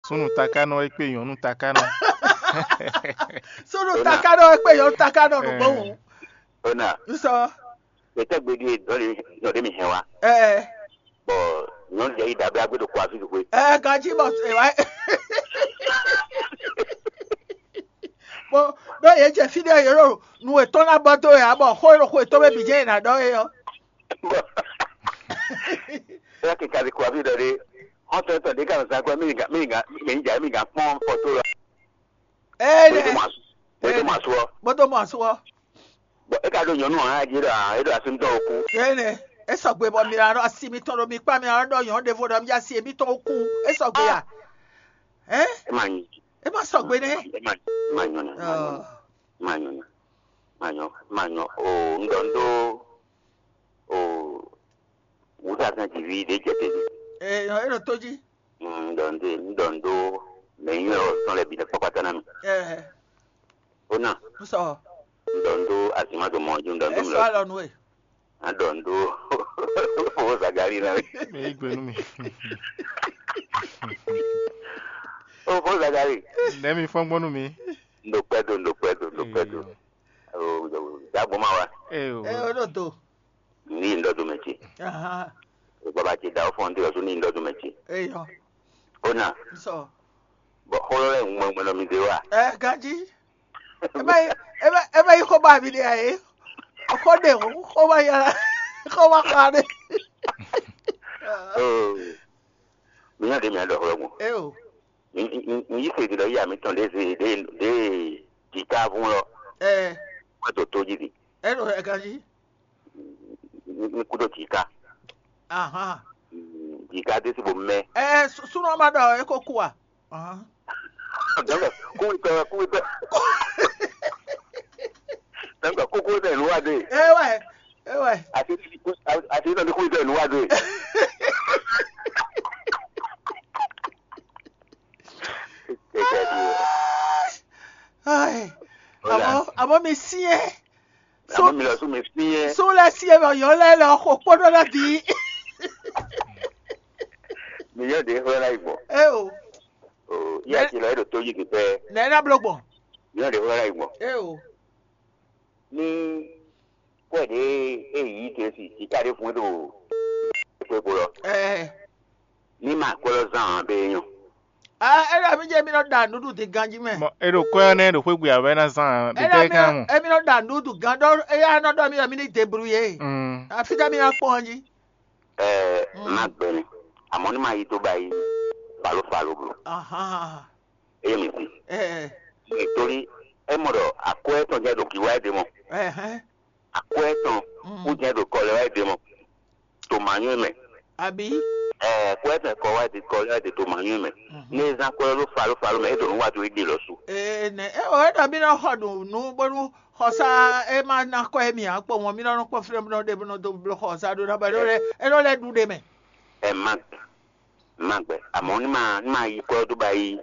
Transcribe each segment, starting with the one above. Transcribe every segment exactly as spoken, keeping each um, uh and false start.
Súnnu taká nɔ é kpé nyɔ̌nu taká nɔ. Súnnu taká nɔ é kpé nyɔ̌nu taká nɔ nǔgbó wǔ. Ona. Nsɔ. Kpɛtɛ gbedi e dɔn de dɔn de mi hɛn wa. Ɛɛ. Bɔ nyɔnu jɛ yi dabla gbé ɖo kɔ afi xwe. Ɛɛ, ganji bɔ ɛ wa. Bó ɖó yě jɛ fí ɖé yě ɖo nú etɔn ná bɔ dó yě ǎ, bɔ xó e ɖo xó etɔn mɛ bǐ jɛ yě ná ɖɔ é ɔ́. Bɔ ɛ kika di kɔ afi ɖɔ ɖe. Xɔntɔn etɔn ɖe ka nɔ zan kɔ mi ga mi ga mi ga mi ga kpɔn fɔto la. Ee, bó tó mɔ asu bó tó mɔ asu ɔ. Bó tó mɔ asu ɔ. Bɔn é ka ɖo nyɔnu ɔ́ hã jí ɖɔ é ɖo asi tɔn o kú. Énɛ́, é sɔgbe bɔ mi ná ɖɔ asi mitɔn ɖo mi kpá mi ná ɖɔ nyɔ̌nu ɖěvo ɖɔ mi asi mitɔn o kú. É sɔgbe a? Hɛn? É ma nyi. É ma sɔgbe nɛ́. É ma é ma nyɔ nɛ. Ɔ. É ma nyɔ nɛ. É ma nyɔ é ma nyɔ o un ɖɔ un ɖó o wǔsatɛn jǐví ɖě jɛ te. Ee, é ɖo tó jí. Un ɖɔ un ɖó un ɖɔ un ɖó mɛ nyɔ́ ɔ́ tɔn lɛ́ɛ bǐ ɖo kpɔ́kpátá ná mi. Ɛɛ. Ó ná. Un sɔ. Un ɖɔ un ɖó azǐn ma ɖo mɔ jí un ɖɔ un ɖó mi lɔ. Ɛ sɔ alɔ nú we. A ɖɔ un ɖó fofó Zagali ná mi. Mɛ yí gbe nú mi. Ó fó Zagali. Nɛ̌ mi fɔ́n gbɔn nú mi? Un ɖo kpɛ́ do, un ɖo kpɛ́ do, un ɖo kpɛ́ do. Dǎgbó ma wa. Ee o. Ɛ o ɖo do. Ní yi ŋɖɔ́ do mɛ ce. Ahan. Baba ce dǎ ó fɔ́n dé ɔ́ sú ní yi ŋɖɔ́ do mɛ ce. Eyɔ. Ó ná. Sɔ. Bɔ xó lɔ lɛ́ɛ ŋun gbɔngbɔn nɔ mi dé wa. Ɛ ganjí. Ebe ebe ebe yi xó ba mi ɖe ayi. Xó ɖe xó xó ba yàrá xó ba xa ɖe. Oo. Mi nyɔ ɖe mi aɖɔ xlɔ́ gbɔn. Eo. Mi mi mi yi se ɖi lɔ yi ami tɔn ɖe ze ɖe ɖe jita vun lɔ. Ɛ. Wɛ to to jí di. Ɛ ɖo ɛ ganjí. Ní kúdó jǐká. Ahan. Jǐká dé sí bo mɛ. Ɛ súnú ɔ́ má ɖɔ é kó kú a? Ahan. Dɔnku kúwitɔ kúwitɔ. Dɔnku kúkú tɛ nù wá dé. Ewɛ, ewɛ. Àti àti ìtàn ní kúwitɔ nù wá dé. Ai, àmọ́ àmọ́ mi syɛ́n. Àmọ́ mi lọ sún mi syɛ́n. Sún lɛ syɛ́n bɔ yɔ̌ lɛ lɛ xo kpódó lɛ bǐ. Mi yɔ ɖě xlɔ́ ná yi gbɔn. É o. Yíyá ce lɔ é ɖo tó yí gbe pɛ́. Nɛ̌ ná bló gbɔn? Mi yɔ ɖě xlɔ́ ná yi gbɔn. É o. Ní kwɛ́ ɖě é yǐ te si sika ɖé fún é ɖo xwé ko lɔ. Ɛɛ. Ní ma kwɛ́ lɔ zán ǎ bɛ é nyɔ. Ah, é ɖɔ mí jẹ́ mí nɔ ɖa nǔɖuɖu din ganjí mɛ. Mɔ é ɖo kwɛ́ ɔ́ nɛ́ ɖo xwé gbe ǎ wɛ ná zán ǎ. Bíbélì kan mɔ. Émi nɔ ɖa nǔɖuɖu gan ɖɔ éyá nɔ ɖɔ mí ɖɔ mí ní debrouiller. Mm. Afi ka mí ná kpɔ́n ɔ́ jí. Ɛɛ má gbɛnɛ, àmọ́ ní ma yí tó ba yí falo falo bro. Ahan. Eye mi si. Ɛɛ. Nítorí é mɔ ɖɔ akwɛ́ tɔn jẹ́ ɖo kí wá é ɖe mɔ. Ɛhɛn. Akwɛ́ tɔn kú jẹ́ ɖo kɔ lɛ wá é ɖe mɔ. To manyɔ mɛ. Àbí? Ɛɛ, kɔ ɛtɛ kɔ wá di kɔ lɛ di to manyɔ mɛ. Ne zan kɔ lɛ ló fa ló fa ló mɛ, e ɖo nu wá do e ɖe lɔ su. Ee, nɛ e o e ɖɔ mí nɔ xɔ ɖo nǔ bónú xɔsá e ma ná kɔ émí ǎ kpɔ́n mɔ mí nɔ nɔ kpɔ́n fínɛ́ bó nɔ ɖe bó nɔ dó bló xɔsá ɖó ná bɔ é nɔ lɛ é nɔ lɛ ɖu ɖe mɛ. Ɛ má gbɛ, má gbɛ. Àmọ́ ní ma ní ma yí kɔ dó ba yí.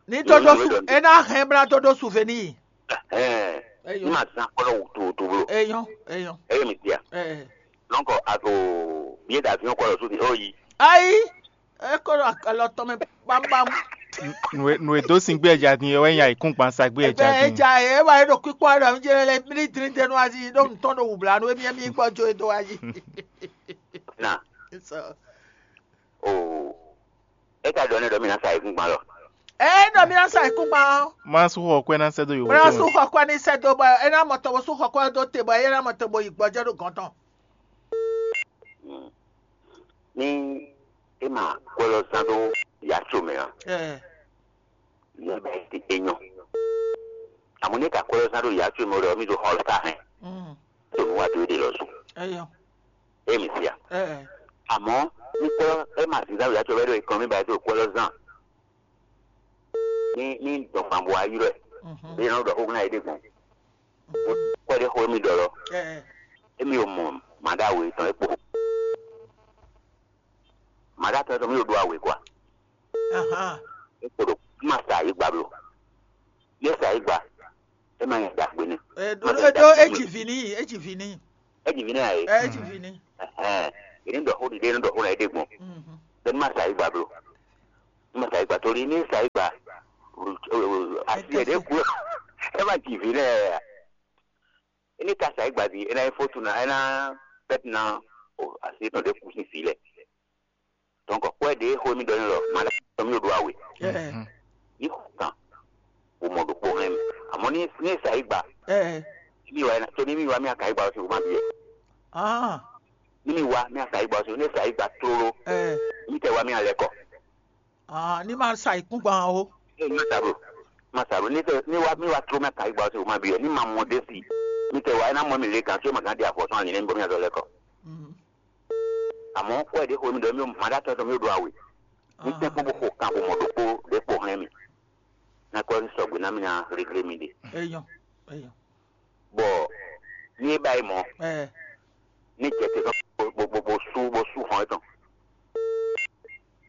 Ní tó dó su é ná hɛn blá tó dó su fɛ níyì. Ɛhɛn. Ní ma zan kɔ lɔ wutu wutu blo. Eyɔn, eyɔn. Eye mi tia. Ɛɛ. Donc a to billet d'avion kɔ lɔ su di o yi. Ayi, e ko ɖo alɔ tɔn mɛ bambam. Nue nue dó sin gbé ɛja din wɛ nya ikún gban sa gbé ɛja Ɛbɛ din. Eja ye e wa e ɖo kpikpɔ aɖe mi jɛ lɛ mi ní drin denu azi ɖo nutɔn ɖo wubla nu emi emi gbɔ jo e do azi. Na. So. O. E ka ɖɔ ne ɖɔ mi na sa ikún gban lɔ. E ɖɔ mi na sa ikún gban. Ma su xɔ kwɛ na sɛ do yovo. Ma su xɔ kwɛ ni sɛ do bɔ e na mɔ tɔn bo su xɔ kwɛ do te bɔ e na mɔ tɔn bo yi gbɔjɛ ɖo gɔn tɔn. Ní é ma kwɛ lɔ zán ɖó yatso mɛ ɔ́, yɛ bɛ ti é nyɔ. Àmọ́ ní ka kwɛ lɔ zán ɖó yatso mɛ ɔ́, mi ɖo xɔ sa hɛn. Tó nu wá dó é ɖe lɔ zun. Eyɔ. É mi sia. Ɛ. Àmọ́ ní kwɛ lɔ é ma zǐn zán ɖó yatso mɛ ɖó é kɔn mi ba é tó kwɛ lɔ zán. Ní ní dɔn gban bɔ ayí rɛ. Bí yẹn nɔ ɖɔ xó ná yé ɖe gbɔn. Kpɛɖé xó émí ɖɔ lɔ. Émí o mɔ mǎɖáwé tɔn é kpo. Mǎɖá tɔn tɔn mí ɖo ɖó awě kwa. É kpo ɖo má sa ayǐ gba bló. Yé sa ayǐ gba. É má nyɛ ɖagbe nɛ. Ɖó é jì vi n'i, é jì vi n'i. É jì vi n'i ayé. É jì vi n'i. Yě ní ɖɔ xó ɖiɖe, é ní ɖɔ xó ná é ɖe gbɔn. Bɛ́ ní má sa ayǐ gba bló. Ní ma sa yi gba torí ní sa yi gba asi ɛ ɖě ku ɛ má ji vǐ lɛ. Ní ka sa yi gba di é ná yi fótu ná é ná pɛt ná asi tɔn ɖě ku sín vǐ lɛ. Donc kpɔ́ ɛ ɖě xó mi ɖɔ ní lɔ ma ɖá tɔn mi ɖo awe. Ní xɔ kan bó mɔ ɖokpó hɛn mi. Àmọ́ ní ní sa yi gba ní mi wá tó ní mi wá mi aka yi gba ɔ́ sí wò má bí ɛ. Ní mi wá mi aka yi gba ɔ́ sí wò ní sa yi gba tlóló. Ní mi tɛ wá mi alɛ kɔ. Ní ma sa ikúngban o. Ní ma sa bro, ma sa bro ní tɛ ní wá mi wá tló mi aka yi gba ɔ́ sí wò má bí ɛ ní ma mɔ dé sí. Mi tɛ wá ɛ ná mɔ mi lé gán tí ó ma gán di afɔ sɔn ali ní bó mi azɔ lɛ kɔ. Àmọ́ kpɔ́ ɛ ɖě xó mi ɖɔ mi ma ɖá tɔn tɔn mi ɖo awe. Ní tɛ́nkpɔ́n bó xo kan bó mɔ ɖokpó ɖě kpo hɛn mi. Ná kɔ ní sɔgbe ná mi ná réglé mi ɖe. Eyɔn, eyɔn. Bɔ ní é ba yi mɔ, ní jɛ te sɔn bó bó bó sú bó sú xɔn étɔn.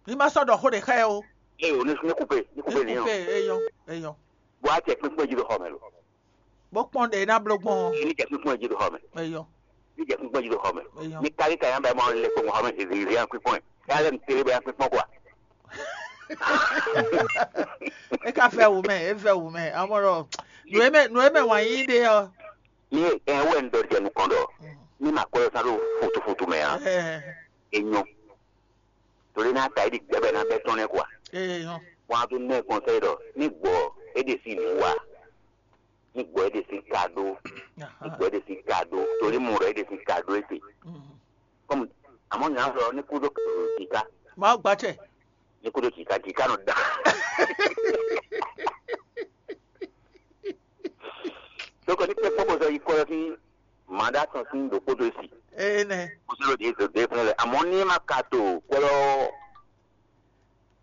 Ní ma sɔ́ ɖɔ xó ɖě xá ɛ o. Eye o ní ní kúpe ní kúpe ní Kúpe, eyɔn, eyɔn. Bó a jɛ kpínkpɔ́n jí ɖo xɔ mɛ lo. Bó kpɔ́n ɖě ná bló gbɔn. Ní jɛ kpínkpɔ́n jí ɖo xɔ mɛ. Eyɔn. Ní jɛ kpínkpɔ́n jí ɖo xɔ mɛ. Eyɔn. Ní kárí ka yán bɛ mɔ lɛ kpɔ́n xɔ mɛ zizi zizi yán kpínkpɔ́n ɛ. Yá lɛ mi télé bɛ yán kpínkpɔ́n kɔ. É ka fɛ wǔ mɛ, é fɛ wǔ mɛ. Amɔ́ ɖɔ nǔ e mɛ nǔ e mɛ wǎn yí ɖe ɔ́. Ní ɛ wɛ un ɖɔ jɛ nukɔn ɖɔ ní ma kɔ ɛ sán ɖo futufutu mɛ ǎ. Ɛ, Enyɔ. Torí ná ta yi ɖi gbɛbɛ ná bɛ tɔn nɛ kua. Eyɔn. Wọn a tó nɛ kɔnsɛyi ɖɔ ní gbɔ é ɖe sí nǔ wa. Ní gbɔ é ɖe sí ka ɖó. Ní gbɔ é ɖe sí ka ɖó. Torí mo ɖɔ é ɖe sí ka ɖó éte. Kɔmi àmọ́ nyà sɔ ní kúdó jìká. Má gbàtsɛ. Ní kúdó jìká jìká nɔ da. Dókè ní pé kpɔ́kpɔ sɔ yi kɔ lɔ sí màdá tɔn sí ɖokpótó si. Ene. Kó sɔ́ ló dé dé fún lɛ àmọ́ ní ma ka to kpɔ́lɔ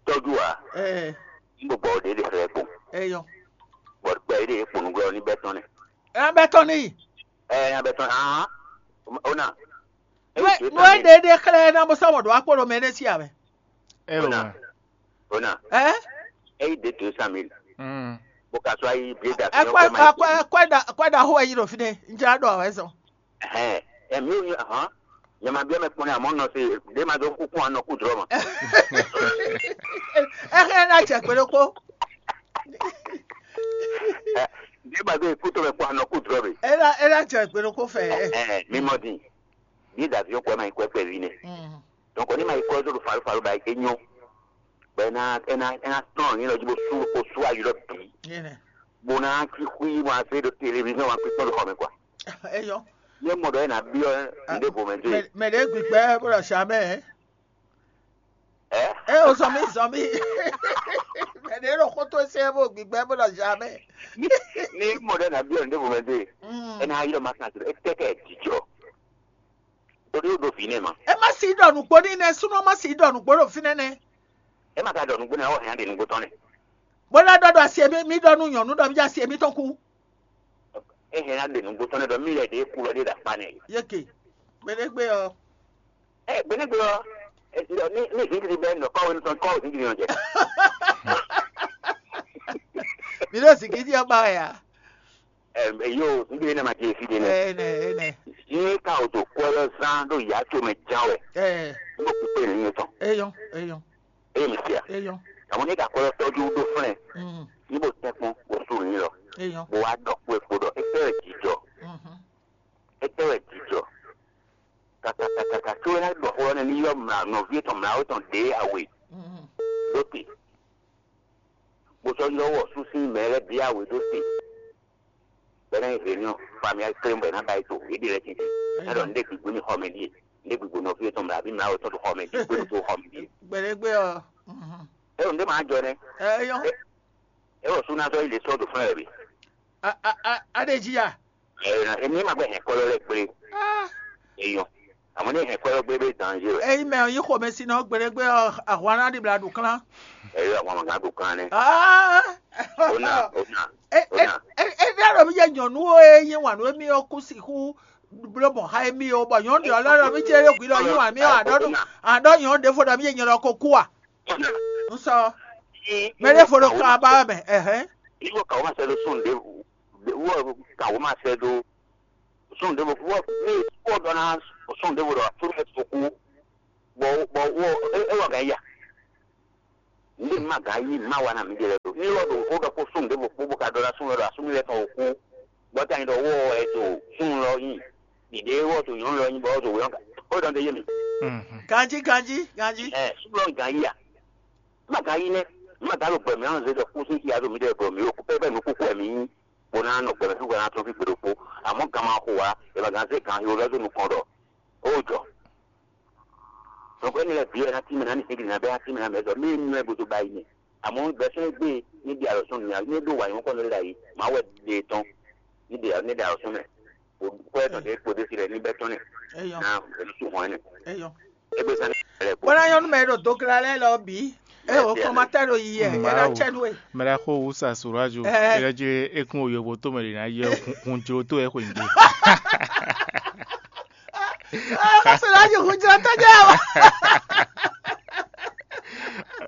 tɔ́jú wa. Ee. Ní gbogbo ɔ̀dẹ́ lè fẹ́ kpɔn. Eyɔn. Bɔ̀dù gbɛ yìí lè kpɔn nùgbẹ́ ní bẹ́ẹ̀ tán nɛ. Ẹ bɛ tɔn ní. Ẹ ẹ bɛ tɔn hàn ó nà. Nue nue ɖeɖe xlɛ́ ná bó sɔmɔ ɖo akpó ɖo mɛ nɛ sí amɛ. Ó nà. Ó nà. Ɛ. Ẹ yí dé tó sàmì. Bó ka sọ ayé bí da. Ẹ kpɛ ẹ kpɛ ẹ kpɛ da ẹ kpɛ da xó ẹ yí ɖo fi ɖe njẹ́ adɔ ẹ zɔn. Ɛhɛn, ɛmi o hàn nyama biɔ mɛ kpɔn amɔ nɔ se ɖe ma dɔ kúkú anɔ kú drɔ ma. Ẹ xɛ ná jẹ gbé ɖokpó. Ɖe ma dɔ kútó mɛ kpɔn anɔ kú drɔ mi. Ẹ ná ẹ ná jẹ gbé ɖokpó fɛ. Ɛhɛn, mi mɔ din. Bi davi o kɔ ma yi kɔ kpɛ vi nɛ. Donc ni ma yi kɔ zɔ do falu falu ba e nyɔ. Bɛ na ena ena tɔn ni lɔ ji bo su bo su ayi lɔ bi. Bo na ki xui mo ase do télévision wa kpikpɔn do xɔ mi quoi. Eyɔ. Ye mɔ dɔ ena biɔ nde bo mɛ de. Mɛ de gbigbɛ bó lɔ sa mɛ. Ɛ. Ɛ o zɔn mi zɔn mi. Mɛ de ɖo xótó sɛ bó gbigbɛ bó lɔ sa mɛ. Ni mɔ dɔ ena biɔ nde bo mɛ de. Ena ayi lɔ ma kan tirɛ. Etɛ kɛ dijɔ. Torí ó ɖo vǐ nɛ ma. Ɛ má si ɖɔ nǔgbó ní nɛ súnú má si ɖɔ nǔgbó ɖo fínɛ́ nɛ. Ɛ má ka ɖɔ nǔgbó nɛ ɔ́ hɛn ɖe nǔgbó tɔn nɛ. Bó ná ɖɔ ɖɔ asi mi mi ɖɔ nú nyɔ̌nu ɖɔ mi jɛ asi mi tɔn kú. Ɛ hɛn ɖe nǔgbó tɔn nɛ ɖɔ mi lɛ ɖe kú lɔ ɖe ɖa kpa nɛ. Yeke gbɛɖɛgbɛ ɔ. Ɛ gbɛɖɛgbɛ ɔ. Ní ní zǐngiri bɛ nɔ kɔwe nutɔn kɔwe zǐngiri nɔ jɛ. Mi ɖo zǐngiri ɔ́ ba wɛ ya. Yo, níbi yẹn ma jẹ fi de nɛ. Ene ene. Ní ka o tó kɔ lɔ zán ɖo yá tó mɛ ján wɛ. Ɛ Ní o kúkú ní yẹn tán. Eyɔn eyɔn Eye mi fia. Eyɔn. Àwọn ní ka kɔ lɔ tɔjú ɖó flɛ. Mm. Ní bo tẹ kpɔn bo su ní lɔ. Eyɔn. Bo wá dɔ kú epo dɔ. Etɛ wɛ jijɔ. Mhm. Etɛ wɛ jijɔ. Kaka kaka kaka tó wɛ ná dɔ xɔ nɛ ní yɔ mla nɔvi tɔn mla wɛ tɔn ɖe awe. Mhm. Lóte. Bó sɔ́ ylɔ́ wɔ sú sín mɛ lɛ́ɛ bǐ awe dó se. Bɔ é ná nyí réunion, famille kplé bɔ é ná ba yi to, é ɖe lɛ́ɛ títí. É ɖɔ ndé gbígbó ní xɔ mɛ ɖíe, ndé gbígbó nɔví yětɔn mɛ abí mɛ awetɔ́ ɖo xɔ mɛ ɖíe, gbé ɖo xɔ mɛ ɖíe. Gbɛɖɛgbɛ ɔ. É ɖo ndé màá jɔ nɛ́. Eyɔn. É wɔ sú ná sɔ́ yi lě sɔ́ ɖo fún ɛ bǐ. Aɖeji ya. Èmi ma gbɛ hɛn kɔlɔ lɛ kplé. Eyɔn. Àmọ́ ní hɛn kɔlɔ gbé bɛ danzé wɛ. Eyi mɛ yi xɔmɛ si nɔ gbɛɖɛgbɛ ɔ ahwana ɖi bla ɖu klán. Eyɔn àwọn ọmọ kan ɖu klán nɛ. Ona ona. Ona. Eɖe ɖɔ mi jɛ nyɔnu wo e nyi wanu emi o ku siku blo mɔ ha emi o bɔ nyɔnu ɖe ɔlɔ ɖɔ mi jɛ ɖe gui lɔ nyi wanu mi o aɖɔ nu aɖɔ nyɔnu ɖe fo ɖɔ mi jɛ nyɔnu ko ku a. N sɔ. Mɛ ɖe fo ɖo kaba mɛ ɛhɛn. Iwɔ kawo ma sɛ ɖo sɔn ɖe wɔ kawo ma sɛ ɖo sɔn ɖe wɔ ne wɔ dɔ na sɔn ɖe wɔ dɔ a tó mɛ tó kú bɔ bɔ wɔ e wɔ gɛ ya. Nǔɖé má gǎn yí má wa ná mǐ ɖe lɛ́ɛ ɖo ní lɔ ɖo xó ɖɔ kpó súnnu ɖěvo kpó bó ka ɖɔ ná súnnu lɔ ɖo asúnú lɛ́ɛ tɔn wǒ kú. Bɔ ta nyi ɖɔ wó ɔ ɛ to súnnu lɔ nyi ɖiɖe wó ɔ to nyɔ̌nu lɔ nyi bɔ ɔ to wě ɔ́ xó ɖɔ ɖe yé mi. Ganjí, ganjí, ganjí. Ɛ súnnu lɔ gǎn yí a? Má gǎn yí nɛ́. Má gǎn ɖo gbɛ mǐ ɔ́ zé ɖɔ kú sín xia ɖo mǐ ɖe ɖɔ mǐ ɖo kú pɛ́pɛ́ nǔ kúkú wɛ mǐ nyí. Bó ná nɔ gbɛ mɛ fí bó ná tɔ́n fí gbe ɖokpó. Amɔ̌ gan ma xo ǎ, è ma gǎn zé gǎn xyo lɛ́ dó nukɔn ɖɔ ó jɔ. Nɔgbɛ́ni lɛ́ɛ bǐ wɛ ná tínmɛ ná ní Egli ná bɛ́ ná tínmɛ ná mɛ zɔ mí nú ɛ gúdo ba yi mɛ. Àmọ́ gbɛsɛ́ gbé ní ɖi alɔ̌sɔ́ nìyá ní ɖó wǎ nyɔ́kɔ́ lɛ́ ɖ'ayǐ má wɛ ɖe tɔn ní ɖe ní ɖe alɔ̌sɔ́ mɛ. Kó ɛ tɔn ɖě kpo ɖé fi lɛ ní bɛ́ tɔn nɛ. Eyɔ. Ná ɛlú sùn hɔn ɛnɛ. Eyɔ. Égbé sani lɛ kpo. Bɔn ayɔnu mɛ ɖo dogla lɛ lɔ bǐ. E o kɔmatɛ ɖo yi yɛ. Ɛ na tsɛ nú e. Mɛ ɖa xo wusa surajo. Ɛ. Ɛ lɛ dzi ekun oyovo to mɛ ɖi na yɛ hun jlo to ɛ xwe nyi. Surajo hun jlo to jɛ o.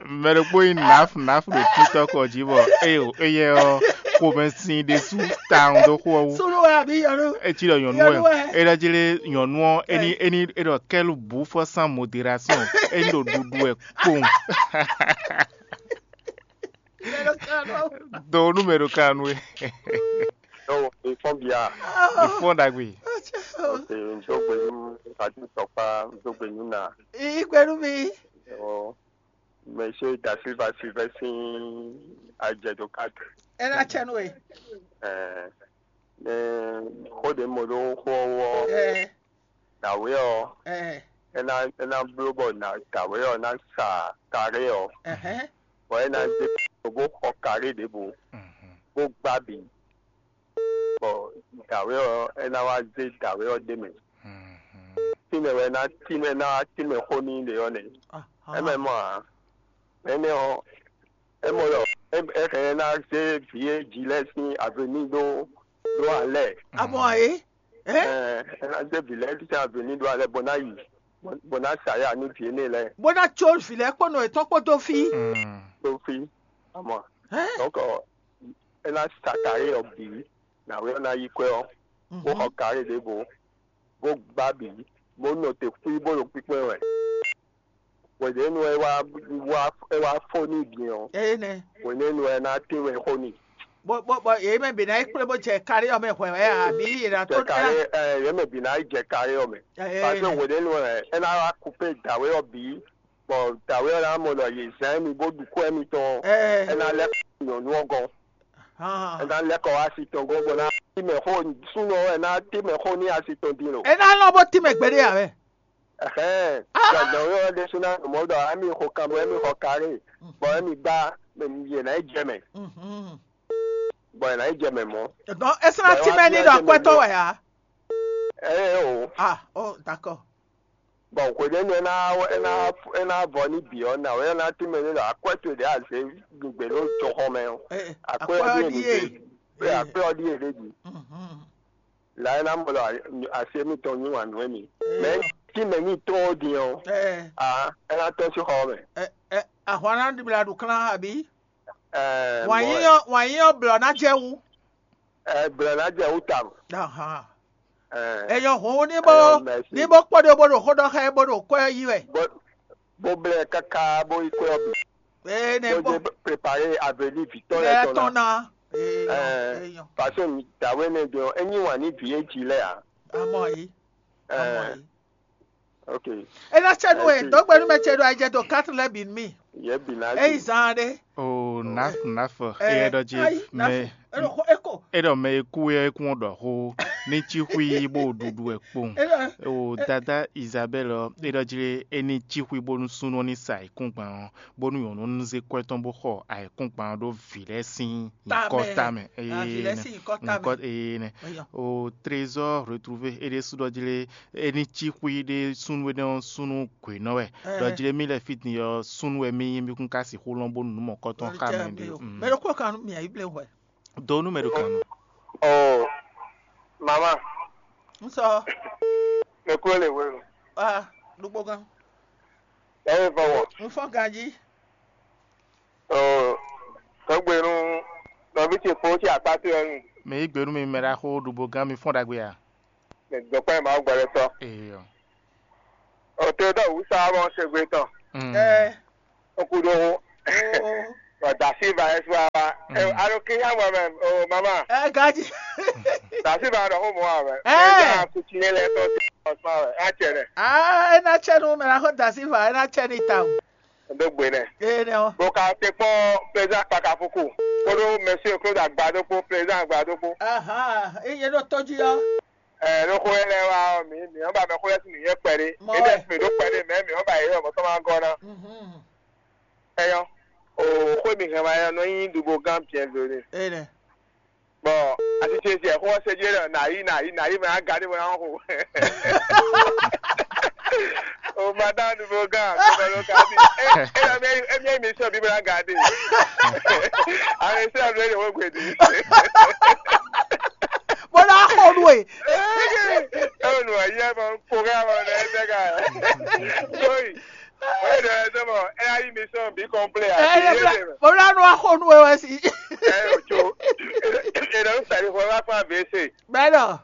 Mɛ ɖokpó nyí naf naf ɖo títɔ́ kɔ jí bɔ eye o eye ɔ xomɛ sin ɖésú tawun dó xó ɔ́ wú. Sunu wɛ àbí yɔnu? Etí ɖɔ nyɔnu wɛ. Yɔnu wɛ. E ɖɔ jí lé nyɔnu ɔ eni eni e ɖɔ kɛlu bu fɔ san modération eni ɖo ɖuɖu wɛ kpowun. Mɛ ɖo kan nɔ. Do nu mɛ ɖo kan nu e. Donc, ils font bien. Ils font dagbe. Ok, n dó gbe nú Fati Tɔkpa, n dó gbe nú na. Igbe nú mi. Ɔ, Monsieur Da Silva Silvestre, Adjedo quatre. Ela tsɛ nú e. Ɛ, ne xó ɖe mo ɖó xó ɔ́, ɛ, dǎwe ɔ́, ɛ, é ná é ná bló bɔ ná dǎwe ɔ́ ná sa karé ɔ́, ɛhɛn, bɔ é ná zé bó xɔ karé ɖěbǔ, bó gbá bǐ, bɔ dǎwe ɔ́ é ná wá zé dǎwe ɔ́ ɖ'é mɛ. Tínmɛ wɛ ná tínmɛ ná wá tínmɛ xó n'i ɖe ɔ́ nɛ́. Ahán. É mɛ mɔ ǎ. Énɛ́ ɔ́, é mɔ ɖɔ é é hɛn ná zé vǐ e jí lɛ́ɛ sín avení ɖó ɖó alɛ. Abɔ é? Ɛ, Ɛ? É ná zé vǐ lɛ́ɛ sín avení ɖó alɛ bó ná yi bó bó ná sa ya nú vǐ énɛ́ lɛ́ɛ Bó ná có vǐ lɛ́ɛ kpó nɔ yětɔn kpó dó fí. Ɖó fí. Amɔ. Ɛ? Donc, é ná sa karé ɔ́ bǐ, nǎwe ɔ́ ná yí kwɛ́ ɔ́, bó xɔ karé ɖěvo, bó gbá bǐ, bó nɔ te xwí bó ɖo kpíkpɛ́n wɛ. Hwěɖěnu é wá wá é wá fó n'i din ɔ́, Eye nɛ. Hwěɖěnu é ná tín wɛ xó n'i. Bó bó bó yě mɛ bǐ ná yi kplé bó jɛ kárí ɔ́ mɛ hwɛ wɛ àbí yě ná tó Jɛ karé ɛ yě mɛ bǐ ná yi jɛ karé ɔ́ mɛ. Eye Parce que nɛ. Hwěɖěnu ɛ é ná wá kupé dǎwe ɔ́ bǐ, bɔ dǎwe ɔ́ ná mɔ ɖɔ yě zán émí bó ɖu kú émítɔn ɔ́, é Ɛ ná lɛ́ kɔ nyɔ̌nu ɔ́ gɔ́n. É hàn. Ná lɛ́ kɔ wá asi tɔn gɔ́n bó ná tín mɛ xó súnnu ɔ́ wɛ ná tín mɛ xó ní asi tɔn din lo. É ná lɔn bó tín mɛ gbeɖé ǎ wɛ. Ɛhɛn, gbɔdɔn yɔ ɖésú ná mɔ ɖɔ ami xɔ kan bɔ ami xɔ karé, bɔ ami gbá yě ná yi jɛ mɛ, Mhm. Bɔ yě ná yi jɛ mɛ mɔ. Donc, é sɔ́ ná Bɔ é wá tímɛ ní ɖɔ akwɛ́tɔ́ wɛ ǎ. Ɛ o. Ah, oh, d'accord. Bɔ hweɖénu é ná é ná é ná vɔ ní bǐ ɔ́, nǎwe ɔ́ ná tímɛ ní ɖɔ akwɛ́ towe ɖě a zě gbǐgbé ɖó jɔxɔ mɛ ɔ́, Eh, akwɛ́ ɔ́ ɖíe mi ɖíe. Zě, Eh, akwɛ́ ɔ́ ɖíe ɖé ɖi. Mhm. La é ná mɔ ɖɔ asi émítɔn nyí wǎn nú émí. Eh. Mɛ tínmɛ ní tó ɔ́ din ɔ́, Eh, a é ná tɔ́n sín xɔ ɔ́ mɛ. Eh, eh, ahwan ná ɖibla ɖo klán àbí? Ɛ, Wǎn mɔ yíyɔ wǎn yíyɔ blɔ ná jɛ wú. Ɛ, blɔ ná jɛ wú tawun. Ahan. Ɛ, Eyɔ hǔn ní bó Eyɔ, merci. Ní bó kpɔ́ ɖó bó ɖo xó ɖɔ xá ɛ bó ɖo kwɛ́ yí wɛ. Bó bó blɛ káká bó yi kwɛ́ ɔ́ bǐ. Ee nɛ Bó bó. Dé préparer avenir Victor Bɛ lɛ tɔn tɔn ná. Na. Eyɔ Ɛ, eyɔ. Parce que mi dǎwe nɛ jɔ é nyí wǎn ní vǐ é jí lɛ ǎ. Amɔ yi. Ɛ, Amɔ yi. Ok. Ena tsɛ nu e Merci. Dɔgbe nu mɛ tsɛ ɖo ayijɛ do quatre lɛ bi mi. Yɛ bi na Eyi zan ɖe. O naf naf Ɛ, eyɛ ɖɔ jí ayi, mɛ nafu. Eno xo eko. Eɖɔ mɛ e kú wɛ é kún ɖɔ xó ní cí xwí bó ɖuɖu ɛ kpowun. Ena O dada Isabel ɔ eɖɔ jí é ní cí xwí bónú súnnu ɔ́ ní sa ayǐkúngban ɔ́ bónú nyɔ̌nu ní zé kwɛ́ tɔn bó xɔ ayǐkúngban ɔ́ ɖó vǐ lɛ́ɛ sín nyǐkɔ Tamɛ. Tamɛ. Ah, vǐ lɛ́ɛ sín nyǐkɔ tamɛ. Nyǐkɔ ee nɛ. Eyɔ. O trésor retrouvé é ɖésú ɖɔ jí lé é ní cí xwí ɖé súnnu énɛ́ ɔ́ súnnu gwěnɔ wɛ. Ɛ. Ɖɔ jí lé mí lɛ́ɛ fí din ɔ́ súnnu wɛ mí nyí mí kún ka sixú lɔn bónú nǔ mɔ̌kɔtɔn xá mɛ ɖé. Mɛ ɖokpó kan nú mì ayíblé hwɛ. Do nú mɛ ɖo kan nɔ. Oh, mama, N sɔ. Me kúrò lè wé o. Ah, ɖokpó kan. Ẹ yẹ fọwọ́. N fɔ ganjí. Oh, tọ́gbẹ́nu, tọ́bí ti kpó ti àpáti ẹ̀ nù. Mɛ yi gbenu mi mɛ ɖaxó ɖubo gán mi fɔn ɖagbe a? Mɛ dɔkpɛ ma gbɛlɛ tɔ. Eyɔ. O te dɔ wusa bɔ se gbe tɔ. Mm. Ɛ. O ku ɖo Bɔ da Silva ɛ su wa. Alo kí hã mɔ mɛ o mama. Ɛ gaji. Da Silva ɖɔ xó mɔ wa mɛ. Ɛ. Ɛ kuti yẹn lɛ tɔ sí ɔsán wɛ. A cɛ nɛ. Aa, ena tsɛ nu mɛ na xɔ da Silva, ena tsɛ ni ta o. Ɖó gbe nɛ. Ee nɛ o. Bó ka te kpɔn président Kpakafuku. Kódó monsieur Claude Agbadokpo, président Agbadokpo. Aha, eye ɖo tɔjí ɔ. Ɛ ló xó yɛ lɛ wá ɔ mǐ mǐ ɔ́ ba mɛ xó yɛ sín nǔnyɛ kpɛɖé. Mɔ É ɖɛ wɛ. Fè ɖó kpɛɖé mɛ mǐ ɔ́ ba yě ɔmɔ tɔn ma gɔ́ ná. Mhm. Ɛyɔ. O xó mi hɛn wá yɛ nɔ nyí ɖubo gán biɛnvlé. Ee nɛ. Bɔ asicezi ɛ xó ɔ́ se jí ɖɔ nǎ yí nǎ yí nǎ yí mɛ á ga ɖé bɔ ná xo. O ma dá ɖubo gán kó bɔ ló ka bí. Ɛ ɛ ɛ mi ɛ mi sɔ bí bɔ ná ga ɖé. Àwọn ìṣe àbúrò yìí wọ́n gbèdì. Bó ná xo nú e. Ẹ ò nù ayé ẹ mọ kó kẹ́ àwọn ọ̀nà ẹ tẹ́ ká. Sóyì. Wọ́n yóò dọ̀ ẹ sọ́mọ ẹ á yí mi sọ̀rọ̀ bí kọ́ńplé àti Ẹ yé lè mọ̀. Bó ná nú axo nú e wɛ si. Ẹ ò jó. Ẹ lọ ń sàrí fún ẹ wá fún àbẹ́sẹ̀. Bẹ́ẹ̀ náà.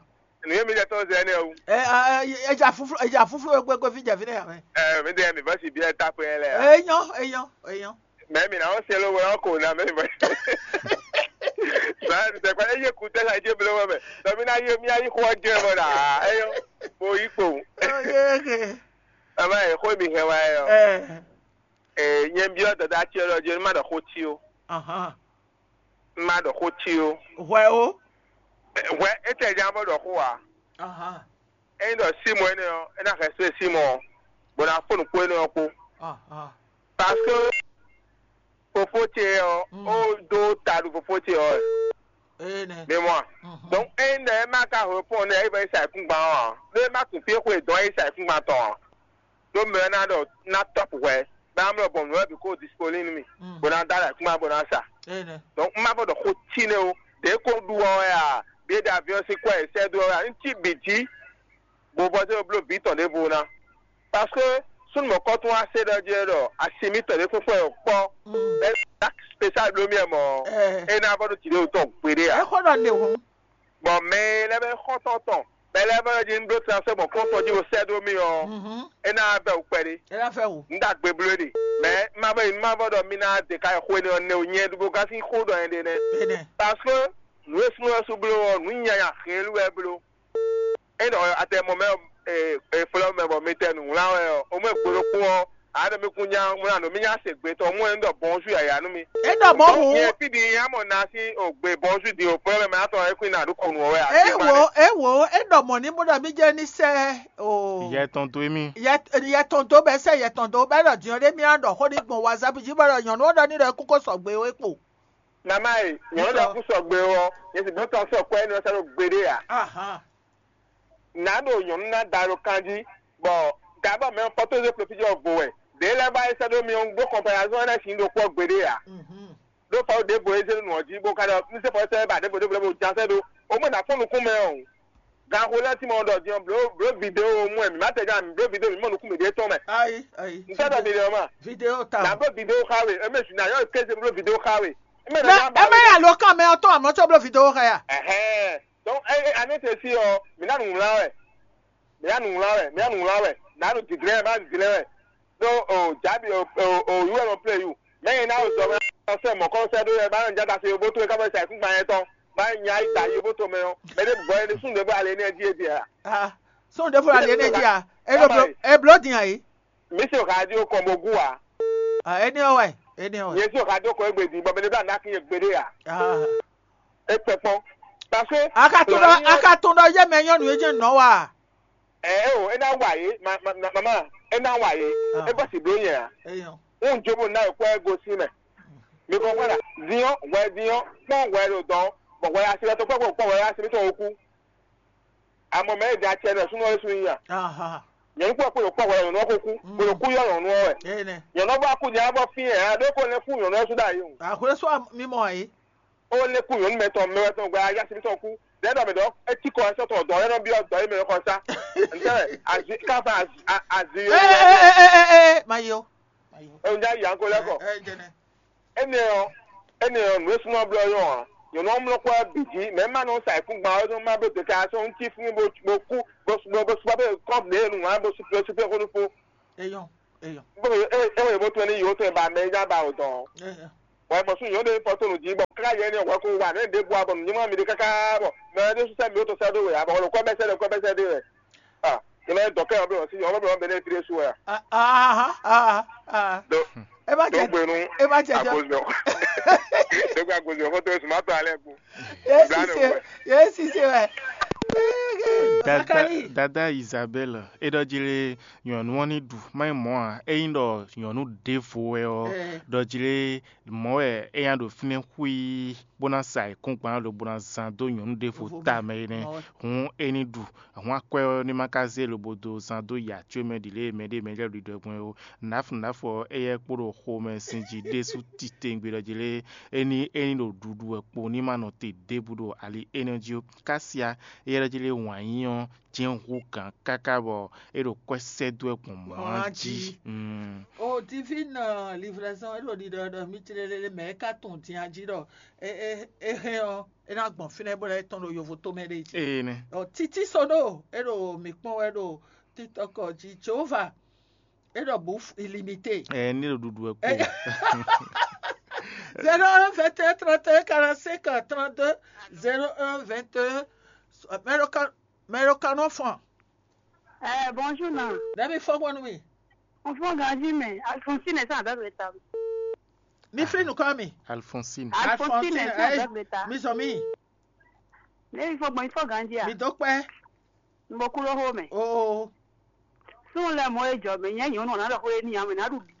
Nìyẹn mi jẹ tọ́ zẹ ní ẹ̀wù. Ẹ ẹ ẹ jà fúfú ẹ jà fúfú ẹ gbẹgbẹ fi jẹ fi náà yà mẹ. Ẹ mi dẹ mi bá sì bí ẹ ta pé ẹ lẹ. Èèyàn èèyàn èèyàn. Mɛ mi na ɔ́ se ló wɛ ɔ́ ko ná mɛ mi bɔ. Báyìí mi tẹ́kọ̀ ẹ yé kú tẹ́lá ẹ jẹ́ bló wɛ mɛ. Dɔ̀mí ná yé mi ayé kó ɔ́ jẹ́ mɔ nà ẹ yọ. Mo yí kpo. Oke. Bàbá yẹn kó mi hẹ́ wá ẹ yọ. Ẹ Ẹ nyɛ byɔ́ dada ce lɔ jí má ɖɔ xó cí ó. Ahan. Má ɖɔ xó cí ó. Hwɛ ó. Hwɛ é tɛ ján bó ɖɔ xó ǎ. Ahan. Ényí ɖɔ símɔ énɛ́ ɔ́, é ná hɛn só e símɔ ɔ́, bó ná fó nǔkpó énɛ́ ɔ́ kpó. Ahan. Parce que fofó ce ɔ́, Mm. ó dó ta ɖu fofó ce ɔ́ wɛ. Ee nɛ. Mi mɔ a? Mhm. Donc ényí ɖɔ é má ka hwepɔ́n nɛ é vɔ é sa ayǐkúngban ɔ́ ǎ, ɖó é má tunwun fí e xwe dɔn é sa ayǐkúngban tɔn ǎ. Ɖó mɛ ɔ́ ná ɖɔ ná tɔ́pu hwɛ, bɔ amlɔ bɔn nǔ lɛ́ɛ bǐ kó disponible nú mì, Mm. bó ná dó alɛ kúnmá bó ná sa. Ee nɛ. Donc un má vɔ ɖɔ xó cí nɛ́ ó, ɖě kó ɖu ɔ́ wɛ a, bǐ e ɖo aviɔ́n sín kwɛ́ e sɛ́ dó ɔ́ wɛ a, un cí bǐ jí, bó vɔ zé bló bǐ tɔn ɖěvo ná. Parce que súnnu mɔ̌kɔ́tɔn wá se ɖɔ jí wɛ ɖɔ asi mitɔn ɖě fúnfún wɛ kpɔ́, Mm. bɛ́ dak spécial bló mì wɛ mɔ̌, Ɛ. é ná vɔ ɖo jǐɖé tɔn gbeɖé ɛ ǎ. Xó ɖɔ le hǔn. Bɔ mɛ e lɛ́ vɛ́ xɔ́ntɔn tɔn, mɛ e lɛ́ vɛ́ jí un bló transfert gbɔn kɔ́ntɔn jí bo sɛ́ dó mì ɔ́, Mhm. é ná vɛ́ wǔ kpɛɖé. É ná fɛ wǔ. Un ɖo agbe bló ɖe. Mɛ má vɔ yi má vɔ ɖɔ mi ná ɖe ká yi xó énɛ́ ɔ́ nɛ́ wú nyɛ ɖubo gán sín xó ɖɔ nyɛ ɖe nɛ́. Énɛ́. Parce que nǔ e súnnu ɔ́ sú bló ɔ́, nǔ nyanya hɛn lú wɛ bló. É ɖɔ atɛ mɔ mɛ e flɔ́ mɛ bɔ mi tɛ nǔ wlán wɛ ɔ́, o mɔ e gbe ɖokpó ɔ́, a ɖɔ mi kún nya wlán ɖo mi nya se gbe tɔn mú ɛ un ɖɔ bɔnzú yǎyá nú mi. É ɖɔ mɔ̌ hǔn. Nyɛ fí ɖi nya mɔ na sín ògbè bɔnzú ɖi o flɔ́ mɛ mɛ atɔ ɛ kún ná ɖu kɔnu ɔ́ wɛ. É wǒ é wǒ é ɖɔ mɔ̌ ní bó ɖɔ mí jɛ ní sɛ o. Yɛ tɔn dó émí. Yɛ yɛ tɔn dó bɛ sɛ yɛ tɔn dó bɛ ɖɔ diɔ ɖé mía ɖɔ xó ní gbɔn wazap jí bɔ ɖɔ nyɔ̌nu ɔ́ ɖɔ ní ɖɔ é kúkó sɔgbe ó é kpo. Mama e nyɔ̌nu ɖɔ kú sɔgbe ɔ́, yɛ sì gbọ́n tɔn sɔ kɔ́ ɛ ní ɔ́ sɛ́ ɖó gbeɖé ǎ. Ahan. Nǎ ɖo nyɔ̌nu ná da ɖo kan jí, bɔ gǎbɔ mɛ fɔ́tózé profíjɔ vo wɛ. Ɖě lɛ́ɛ ba e sɛ́ ɖó mi ɔ́ ɖó kɔnpayazɔn ɛnɛ sin ɖokpó ɔ́ gbeɖé ǎ. Mhm. Ɖó fɔ ɖěvo e zé ɖo nǔ ɔ́ jí bó ka ɖɔ ní sɛ́ fɔ sɛ́ ba ɖěvo ɖěvo ɖěvo ján sɛ́ ɖó. O mɔ nǎ kpɔ́n nukún mɛ ɔ́. Ganxo lɛ́ɛ tín mɔ ɖɔ din ɔ́, blǒ blǒ video mú ɛ mǐ má tɛ ján mǐ blǒ video mǐ mɔ nukún mǐɖée tɔn mɛ. Ayi ayi. N sɔ́ ɖɔ video ma. Video ta. Nǎ blǒ video xa we, émɛ jǐ ná yɔ kéze bló video xa we. Émɛ ná Mɛ nya ba ɛ má we. Yà ló kàn mɛ ɔtɔn àmọ́ tó bló video xa yà. Ɛhɛn. Donc ɛ ɛ aní tɛ sí ɔ, mǐ ná nǔ wlán wɛ. Mǐ ná nǔ wlán wɛ, mǐ ná nǔ wlán wɛ. Nǎ ɖo dǐdlɛ́n wɛ, má ɖo dǐdlɛ́n wɛ. Ɖó o jǎbi o o o yú wɛ nɔ plé yú. Mɛ e ná o zɔ mɛ ɔ́ sɛ mɔ̌kɔ́ sɛ́ ɖó yɛ má nɔ jáda se yóbótó e ká bɛ sa ayǐkúngban yɛn tɔn. Má nya yi da yóbótó mɛ ɔ́. Mɛ ɖé bɔ ɛni sún ɖěbɔ alɛ ní ɛ jí e bia. Ah, sún ɖěvo la lě ní jí a. Eno blo e blo dín ayi. Mí se o xa dí o kɔn bo gú a. Ah, eni ɔ wɛ, eni ɔ wɛ. Yẹn se o xa dí o kɔn egbe dín bɔ mɛ ɖé bá ná kí yẹn gbeɖé a. Ah. E kpɛ kpɔn. Parce que. Aka tún ɖɔ aka tún ɖɔ yé mɛ nyɔnu yé jẹ́ nɔ wa. Ɛ o, e ná wa yé, ma ma ma ma, e ná wa yé. Ah. E bɔ si blo yẹn a. Eyɔn. N jo bo ná ekpɔ ego sí mɛ. Mi kɔn kpɔn na. Diɔ, wɛ diɔ, kpɔn wɛ ɖo dɔn, bɔ wɛ asi lɛ to kpɔ kpɔ wɛ asi mi tɔn o kú. Amɔ mɛ e da cɛ nɔ sunɔ esu nya. Aha. Nyɔnu kpɔ kpɔ kpɔ wɛ nyɔnu ko kú. Mm. Kpɔ kú yɔ nyɔnu wɛ. Ene. Nyɔnu bɔ ku nya bɔ fi yɛ, a ɖo ko ne ku nyɔnu esu da yi o. Akure so mi mɔ ayi. O ne ku nyɔnu mɛ tɔn mɛ wɛ tɔn gba ya si tɔn ku. Dɛ dɔ mi dɔ, e ti kɔ ɛsɛ tɔn dɔ yɛ nɔ bi dɔ yi mɛ kɔ sa. Ntɛ azi ka fa azi a- azi yo. Eh, eh, eh, eh, eh, eh, ma yo. Ma yo. E nya yan ko lɛ kɔ. Eh, eh, jene. Énɛ́ ɔ́, énɛ́ ɔ́, nǔ e súnɔ blɔ́ nyɔ́ ǎ. Nyɔ̌nu ɔ́ mlɔ́ kpɔ́ bǐ jí, mɛ̌ ma nɔ sa ayǐkúngban ɔ́, é nɔ má bló deka sɔ́ nú cí fún bó bó kú, bó bó bó súpá bó kɔ́n ɖě e nǔ wlán bó súpé súpé xó nú fó. Eyɔn. Eyɔ. Bó e e e bó tún ní yǒ tún ba mɛ nya ba o dɔn. Eyɔ. Wɛ bɔ sún yǒ ɖe fɔ tó nù jí bɔ káká yɛ ní wɛ kó wa ní ɖěbǔ abɔ nǔ nyímá mi ɖe káká bɔ mɛ ɖé sún sɛ mi ó tó sɛ ɖó wɛ abɔ wɛ kɔ bɛ sɛ ɖe kɔ bɛ sɛ ɖe wɛ. Ah, ìmọ̀ ẹ̀ dọ̀kẹ́ ọ̀bẹ wọn sí ọ̀bẹ wọn bẹ ní ẹ̀fírí ẹ̀sùn wẹ̀. Ah, ah, ah, ah, ah. Do E ma do jẹ gbenu e ma jẹ jẹ. Agbózọ. Dókè agbózọ fótó ẹ̀sùn má tó alẹ́ kú. Ye sise ye sise wɛ. Dada, dada Isabel, e ɖɔ jí lé nyɔ̌nu ɔ́ ní ɖu má nyí mɔ̌ ǎ. Ényí ɖɔ nyɔ̌nu ɖěvo wɛ ɔ́, ɖɔ jí lé mɔ̌ wɛ é nya ɖo fínɛ́ xwíí bó ná sa ayǐkúngban lobo ná zán dó nyɔ̌nu ɖěvo tamɛ é nɛ́. Hǔn é ní ɖu. Hǔn akwɛ́ ɔ́ ní ma ka zé lobo dó zán dó ya có mɛ ɖi lě e mɛɖé mɛ lɛ́ɛ ɖiɖɔ gbɔn é ó. Nǎfnǎfɔ éyɛ́ kpo ɖo xomɛ sin jí ɖésú titewungbe ɖɔ jí lé é ní é ní ɖo ɖuɖu wɛ kpo ní ma nɔ te ɖěbǔ ɖo ali énɛ́ jí ó. Kásia éyɛ́ ɖɔ jí lé wǎn yí ɔ́ jɛ́n hú gǎn káká bɔ é ɖo kwɛ́ sɛ́ dó wɛ gbɔn mɔ̌ jí. O divine livraison é ɖo ɖiɖɔ ɖɔ mí tlélélé mɛ é ka tunwun din ají ɖɔ é é é hɛn ɔ́ é ná gbɔn fínɛ́ bó lɛ́ tɔn ɖo yovo tomɛ ɖé jí. Ee nɛ. Ɔ títí sɔ́ ɖo é ɖo mǐ kpɔ́n wɛ ɖo TikTok jí Jehovah é ɖɔ bǔ illimité. Ɛ ní ɖo ɖuɖu wɛ kpo. Zéro un vingt et un trente et un quarante cinq trente deux zéro un vingt et un mɛɖo kanɔ fɔn. Eh, bonjour, non. Dɛbi fɔ gbɔn nú mi. On fait un grand mais Alphonsine est avec le table. Mi fli nukɔ mi. Alphonsine. Alphonsine est avec le table. Mi sɔ mi. Mais il faut, bon, il faut grandir. Mi dɔ kpɛ. Mo kú ló xó mɛ. Oo. Sun lɛ mɔ e jɔ mɛ nyɛ nyɔnu ɔ́ ná ɖɔ xó e n'i ame ná ɖu bǐ.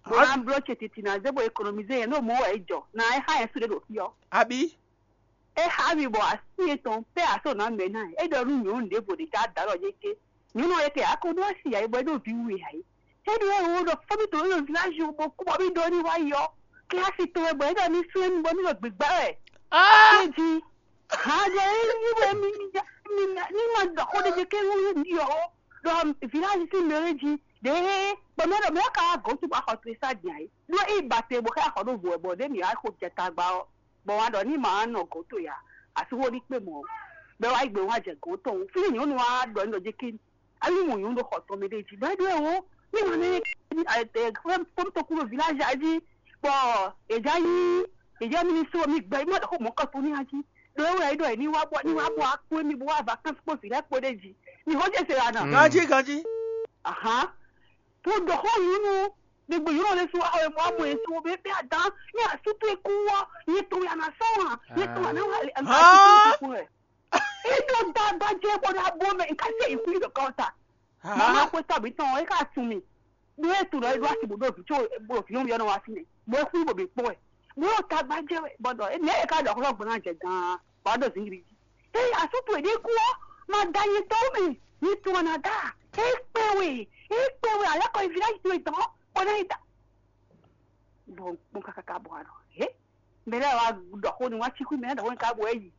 Bó ná bló ce titi ná zé bó économisé yẹn ɖo mɔ̌ wɛ é jɔ ná é xá yɛn su ɖé ɖo fí ɔ́. Abǐ. É xá mi bɔ así etɔn pɛ́ asó ná mɛ ná é ɖɔ nú nyɔ̌nu ɖěvo ɖě ká da ɖɔ yé ké. Nyɔ̌nu ɔ́ yɛ kɛ a ko ɖó asi ǎ é bɔ é ɖo vǐ wu e ǎ é. É ɖo é wǒ ɖɔ fɔ́mì tɔn ɖo village wú bó kú bɔ mì ɖó ní wá yi ɔ́, kílási tɔn wɛ bɔ é ɖɔ ní sú émí bɔ mì ɖo gbǐgbá wɛ. Kéji hǎn jɛ é yí wɛ mì ní ma ɖɔ xó ɖé jɛ ké wú mì ɔ́ ɖɔ village sín mɛ é jí ɖěe bɔ mɛ ɖɔ mɛ ka wá gɔ̌n tún bɔ axɔ tlisa din ǎ é. Ɖó é yi ba te bɔ xá axɔ ɖó vo wɛ bɔ ɖě mǐ wá xo jɛ tagba ɔ́, bɔ wá ɖɔ ní ma wá nɔ gɔ̌n towe ǎ, asúxó ní kpé mɔ̌, bɔ é wá yi gbe wá jɛ gɔ̌n tɔn wú. Fí nyɔ̌nu wá ɖɔ ní ɖɔ jɛ ké Alí mɔ nyɔ̌nu ɖo xɔ tɔn mɛ ɖé jí, bɔ é ɖo ɛ wó, ní ma nɛ fɔ́n tɔn kú ɖo village jí, bɔ è já yí è já mì ní só mì gbɛ, mì ma ɖɔ xó mɔ̌ kɔ tó ní ají. Ɖo é wɛ é ɖɔ è ní wá bɔ ní wá bɔ akpó émí bó wá vacances kpó vǐ lɛ́ɛ kpó ɖé jí. Mì xó jɛ se ana. Ganjí ganjí. Ahán. Tó ɖɔ xó nyɔ̌nu, mi gbé nyɔ̌nu lɛ́ɛ só wá xɔ e mɔ amɔ e só bɛ bɛ adán, ní asútú e kú wá, yě tó wɛ ana sɔ́ wá, yě tó wɛ ana wá ana asútú e kú wɛ. Ito dagba jɛ bɔ na bɔ mɛ nka se ikú yi dɔ kɔta. Mama ko sabi tɔn e ka sun mi. Bo e tu lɔ e do asi bo do vi tso bo fi yɔn yɔn wa fi ne. Bo e ku bo bi kpɔ ɛ. Bo yɔ dagba jɛ bɔ dɔ ne e ka dɔ kɔlɔ gbɔna jɛ gan. Ba do zingiri ji. Ee, asutu e de ku ɔ ma da yi tɔ mi. Yi tɔ na da. E kpɛ we. E kpɛ we alɛ kɔ village to tɔ. Kɔ na yi da. Bon, bon kaka ka bɔ ano. He? Mɛ lɛ́ɛ wá ɖɔ xó nú wá cí xwí mɛ lɛ́ɛ ɖɔ xó nú ká bo é yi.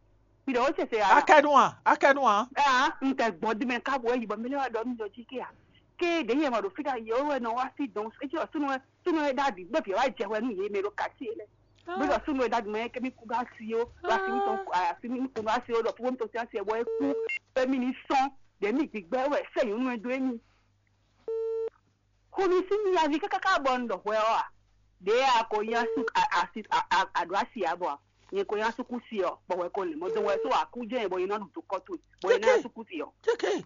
Mi ɖɔ xó ce se a? Akɛnu a? Akɛnu a? Aa, un kɛ gbɔn dín mɛ ká bo é yi bɔ mɛ lɛ́ɛ wá ɖɔ nú mi ɖɔ jí ké a. Ké ɖě yɛ ma ɖo fí ɖo ayi ɔ́ wɛ nɔ wá sí dɔn é cí ɖɔ súnú wɛ súnú wɛ ɖábì bó bǐ wá jɛ hwɛ nú yě mɛ ɖo kati é lɛ́ɛ. Bí ɖɔ súnú wɛ ɖábì mɛ kɛ́mí kú ɖó asi ó ɖo asi mi tɔn asi mi kú ɖó asi ó ɖɔ fúnfún mi tɔn sín asi ɛ bɔ é kú bɛ́ mì ní sɔ́n ɖě mì gbígbɛ́ wɛ sɛ́ nyɔ̌nu ɛ dó émí. Xo mi sín mi aví káká bɔ un ɖɔ hwɛ ɔ́ a? Ɖě a ko nyí asi asi aɖǒ asi ǎ bɔ a? Nyɛ ko nyí asúkúsi ɔ́, bɔ hwɛ ko lin mɔ dó wɛ só akú jɛ́n bɔ nyɛ ná ɖu dǒ kɔ towe, bɔ nyɛ ná nyí asúkúsi ɔ́. Kéké.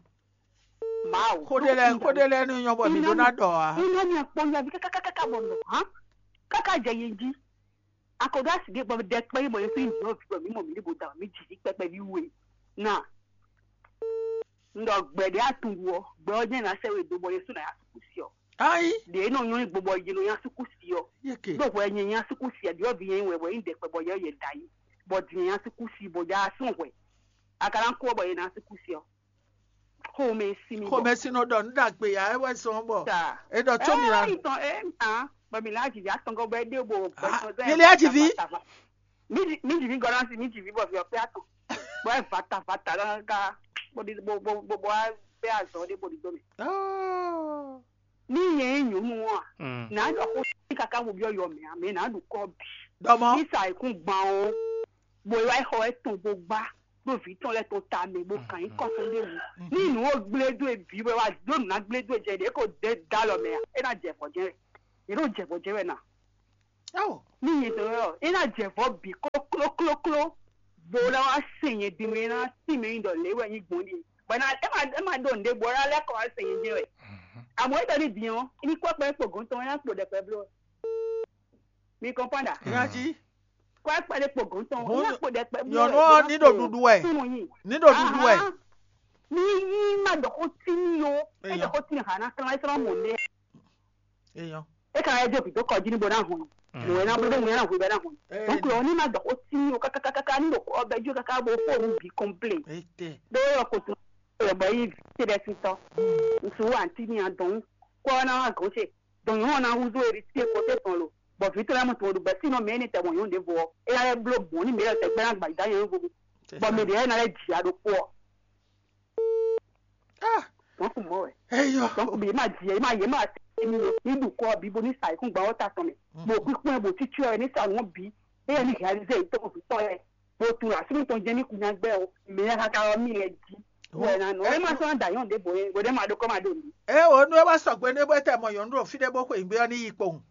Mawu. Xó ɖé lɛ́ɛ xó ɖé lɛ́ɛ ní nyɔ́ bɔ mǐ ɖó ná ɖɔ ǎ. Iná mi kpɔ́n mi aví káká káká bɔ un ɖɔ hǎn. Káká jɛ yě jí. Akɔdó asi ɖé bɔ ɖɛ kpɛ́ bɔ yě fí nyɔ̌ vǐ bɔ mǐ mɔ mǐ ɖé bo da mǐ jǐ jí kpɛkpɛ ví we. Ná. Un ɖɔ gbɛ ɖě atun ɖu ɔ́, gbɛ ɔ́ jɛ́n ná sɛ́ we dó bɔ yě sú ná yá sukúsi ɔ́. Ayi. Ɖě nɔ nyɔ́ gbɔn bɔ yě nɔ nyá sukúsi ɔ́. Yeke. Ɖó hwɛ nyɛ nyá sukúsi ɔ́, ɖyɔ̌vǐ nyɛ wɛ wɛ nyí ɖɛkpɛ bɔ yɛ yɛ da yi. Bɔ din nyɛ nyá sukúsi bɔ yá sɔn hwɛ. A ka ná kú ɔ́ bɔ yě ná sukúsi ɔ́. Xomɛ sí mi bɔ. Xomɛ sí nɔ ɖɔ nǔ ɖagbe ya é wɛ zɔn bɔ. Ta. É ɖɔ tó mi la. Ɛ ɛ tɔn ɛ ɛ bɔ mi la jìjà tɔngɔ bɔ ɛ dé bo. Ah, mi lé ajivi. Mi di mi di mi gɔna si mi di mi bɔ fi ɔkpɛ atɔ. Bɔ ɛ vata vata kaka bo di bo bo bo bo a bɛ azɔ de bo di do mi. Oh. Ní yẹn nyɔnu wa. Mm. Nà á dɔ kó sí kaka wo bí ọyọ mẹ amẹ nà á dùn kọ bì. Dɔmɔ. Ní sa ikún gbọn o. Bó wá xɔ ẹ tún bó gbá. ɖo vǐ tɔn lɛ́ɛ tɔn ta mɛ bó kan nyí kɔn tɔn ɖ'é wú. Ní nǔ ɔ́ gblé dó e bǐ wɛ wá ɖó nǔ ná gblé dó e jɛ ɖě kó dé dó alɔ mɛ ǎ, é ná jɛ vɔ̌ jɛ́n wɛ. Yě nɔ jɛ vɔ̌ jɛ́n wɛ ná. Ní nyɛ tɔn wɛ ɔ́, é ná jɛ vɔ̌ bǐ klóklókló, bó ná wá se nyɛ din mɛ, é ná tín mɛ nyi ɖɔ lě wɛ nyí gbɔn ɖíe. Bɔ é ná é má é má ɖó nǔɖé bó ná lɛ́ kɔ wá se nyɛ jɛ́n wɛ. Àmọ́ é ɖɔ ní din ɔ́, ní kɔ́ kpɛ́ kpo gɔ̌n tɔn, é ná kpo ɖɛkpɛ bló. Mi kɔn pɔ́n ɖa. Nyají. Kɔ́ kpɛ́ ɖé kpo gɔ̌n tɔn, é ná kpo ɖɛkpɛ bló. Nyɔ̌nu ɔ́ ní ɖo ɖuɖu wɛ. Súnnu nyi. Ní ɖo ɖuɖu wɛ. Ní ní má ɖɔ xó tí ní yo, é ɖɔ xó tí ní ha ná klán é sɔ́ mɔ nɛ. Eyɔn. É ka wá jɛ vǐ dó kɔ jí ní bo ná hun. Mɔ̌ é ná bló ɖé mɔ̌ é ná hun bɔ é ná hun. Donc ɔ́ ní má dɔ xó sí ní o kákákáká ní ɖo xó ɔ́ bɛ́ jó káká bó fó nú bǐ kɔmplé. Etɛ. Ɖó yɔ ko tún yɔ bɔ yí vǐ ce ɖɛ́ sísɔ. Ŋsu wa ntí ní adɔn kpɔ́ ná wá gɔ̌n ce. Dɔn nyɔ̌nu ɔ́ ná húzú eri sí e kɔté tɔn lo. Bɔ vǐ tɔn lɛ́ɛ mɔ tɔn ɖo bɛ́ sínɔ mɛ énɛ́ tɛgbɔn nyɔ̌nu ɖěvo ɔ́. É ná lɛ́ bló mɔ̌ ní mɛ élɔ́ tɛgbɛ ná gba yǐdá nyɔ̌nu vovo. Bɔ mɛ ɖě lɛ́ɛ ná lɛ́ jǐ ya ɖokpó ɔ́. Ah, Donc mɔ̌ wɛ. Eyɔ. Donc yě ma jǐ yě ma yě ma se ní ní ɖu kɔ bíbo ní sa yǐkúngban ɔ́ ta tɔn mɛ. Bɔ kpíkpɔ́n ɛ bɔ títí ɔ́ ní sa nǔ bǐ. Eye ní réalisé yě tɔn vǐ tɔn yɛ. Bó tún asúnú tɔn jẹ́ ní kunyagbẹ́ o. Mɛ yá kaka ɔ́ mì lɛ jí. Wɛ na nɔ. Ɛ ma sɔn dayɔn ɖe bo ye bo ɖe ma ɖo kɔ ma ɖo mi. Ɛ o nú ɛ wá sɔgbe nú ɛ bɔ ɛ tɛ mɔ nyɔ̌nu ɖo fí ɖé bó xwe nǔgbé ɔ́ ní yi kpowun.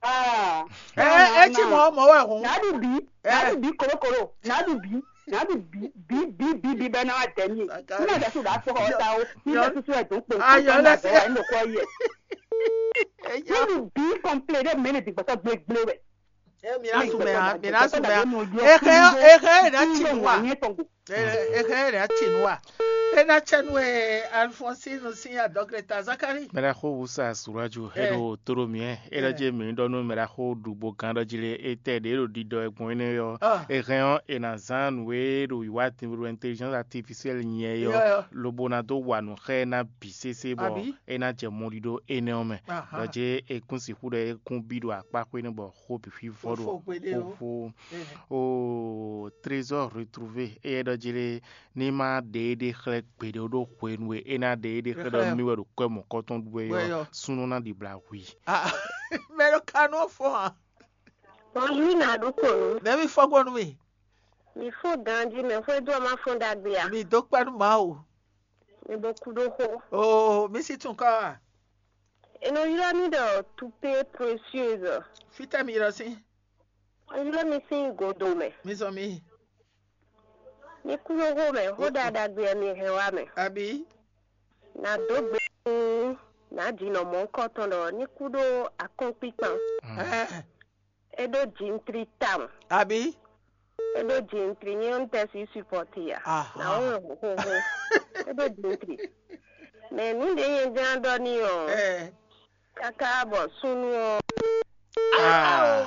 Ah. Ɛ ɛ ɛ ci mɔ mɔ wɛ hǔn. Nadu bi, nadu bi kolokolo, nadu bi, nadu bi bi bi bi bi bɛ na wa dɛ mi. Ní ma dɛ su da kpɔ ɔta o, ní bɛ susu ɛ dun kpo. Ayɔ lɛ si. Ɛnu kɔ yɛ. Nadu bi kɔmple ɖe mɛ ne di gbɛtɔ gblegble wɛ. Ɛ mi na sumɛ ha, mi na sumɛ ha. Ehe ehe na ci nu wa. Ehe na ci nu wa. Ena cɛ nu e Alphonsine sin adɔgre ta Zakari. Mɛɖaxó wusa suraju eɖo toro miɛ eɖɔ je mi ɖɔ nú mɛɖaxó ɖugbo gán ɖɔ ji le etɛ ɖe ɖo ɖiɖɔ e gbɔn énɛ́ ɔ́. Ehɛn ɔ́, e nǎ zán nǔ e ɖo wǐwá intelligence artificielle nyɛ é ɔ́, lobo ná dó wa nǔ xá ɛ ná bǐ sésé bɔ é ná jɛ mɔɖiɖo énɛ́ ɔ́ mɛ. Ɖɔ jɛ e kún sixú ɖɔ é kún bí ɖo akpá xwé nú bɔ xó bǐ xwí vɔ ɖo xóxó. O trésor retrouvé, éyɛ́ ɖɔ jí lé, ní má ɖe éɖée xlɛ́ gbeɖé ɖó hwenu e é ná ɖe éɖée xlɛ́ ɖɔ mì wɛ ɖo kwɛ́ mɔ̌kɔtɔn ɖu wɛ ɔ́, súnnu ná ɖibla hu i. Mɛ ɖo kanú ɔ́ fɔ́n ǎ. Bonjour, Naɖukonu. Nɛ̌ mi fɔ́n gbɔn nú mì? Mi fɔ́n ganjí, mɛ xwé dó ɔ́ má fɔ́n ɖagbe ǎ. Mi dó kpɛ́ nú Mawu. Mi bo kú ɖó xó. Oo, mi sí tún kɔ́ a? È nɔ ylɔ́ mì ɖɔ Toupée Précieuse. Fítɛ́ mi ylɔ́ sín? È ylɔ́ mi sín godo mɛ. Mi zɔn mi. Mi kú ɖó xó mɛ, xó ɖaɖagbe wɛ mi hɛn wá mɛ. Abǐ? Nǎ dó gbe nú nǎ jǐ nɔ mɔ̌hunkɔtɔn ɖɔ ní kú ɖó akɔ́nkpíkpan. Ɛɛ, É ɖó jǐntri tawun. Abǐ? É ɖó jǐntri nyɛ ɔ́, un tɛ si supɔti ǎ. Aha. Nǎ wɔn xóxó. É ɖó jǐntri. Mɛ nǔ ɖě nyɛ jlá ɖɔ n'i ɔ́, Ɛɛ. Káká bɔ súnnu ɔ́. Ah.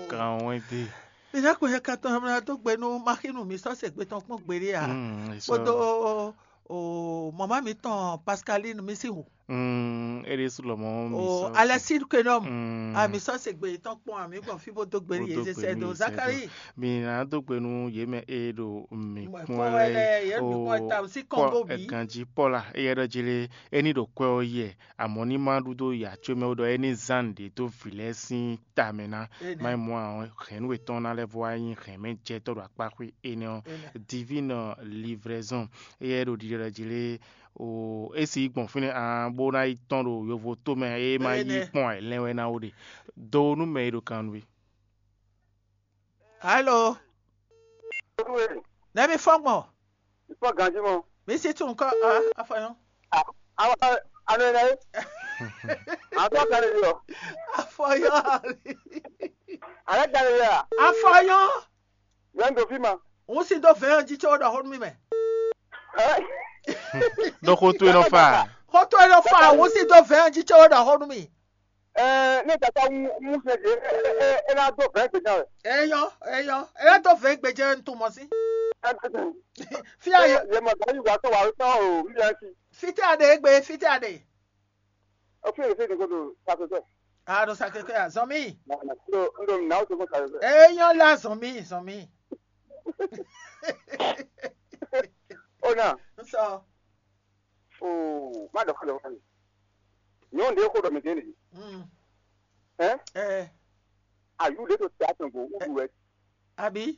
Kan wɛn dé. Mi ná kpɛn yɛ katɔn mɛ dó gbe nú maxínu mi sɔ́ se gbe tɔn kpɔ́n gbeɖé ǎ. Mm, kpódó o mama mitɔn Pascaline mi sí hu. Mm, é ɖésú lɔmɔ̌ mi o sɔ́ Alexis Kwenom. Mm. A mi sɔ́ se gbe tɔn kpɔn ami gbɔn fí bó dó gbe yě zé sɛ do Zakari. Mi ná dó gbe nú yě mɛ e ɖo mi kpɔ́n lɛ o. Ganjí Pɔ́la, éyɛ́ ɖɔ jí lé, é ní ɖo kwɛ́ ɔ́ yɛ, amɔ̌ ní má ɖu dó yǎ có mɛ ó ɖɔ é ní zán nǔɖé dó vǐ lɛ́ɛ sín ta mɛ ná. Má nyí mɔ̌ ǎ ɔ́, hɛ̌nnu e tɔn ná lɛ́ vɔ wá nyí hɛ̌nmɛjɛtɔ́ ɖo akpá xwé énɛ́ ɔ́. Divine livraison, éyɛ́ ɖo ɖiɖɔ jí lé, o é si gbɔn fínɛ́ ǎ bó ná yi tɔ́n ɖo yovo tómɛ é má yí kpɔ́n ǎ, lɛ́n wɛ ná ó ɖe. Do nú mɛ e ɖo kan nú we. Alo. Nɛ̌ mi fɔ́n gbɔn? Fɔ ganjí mɔ. Mi sí tún kɔ afɔyɔn. Awa anu ene ye. Atɔ kan de yɔ. Afɔyɔn. Ale kan de yɔ. Afɔyɔn. Yɛn do fi ma. N si dó vɛ̌ɛn jí tso ɖɔ xó nú mì mɛ. Ɖɔ xó towe nɔ fa. Xó towe nɔ fa, n si dó vɛ̌ɛn jí tso ɖɔ xó nú mì. Ɛɛ, ne tata mu mu se de e e e na do vɛn gbedza wɛ. Eyɔ, eyɔ, eyɔ do vɛn gbedza n tun mɔ si. Fia ye. Ye ma gari wa to wa to o mi ya si. Fite ade egbe, fite ade. O fi se de ko do sa ko to. A do sa ke ko ya, zɔn mi. Ndo ndo na o to ko sa ko. Eyɔ la zɔn mi, zɔn mi. O na. N sɔ. Oo, má dɔ̀kọ́ lọ́wọ́ mi. Nyɔ̌nu ɖě xo ɖɔ mǐ ɖě nìyí. Ɛ, Ayǔ ɖě ɖo tɛ atɔn gbo wúɖu wɛ. Àbí?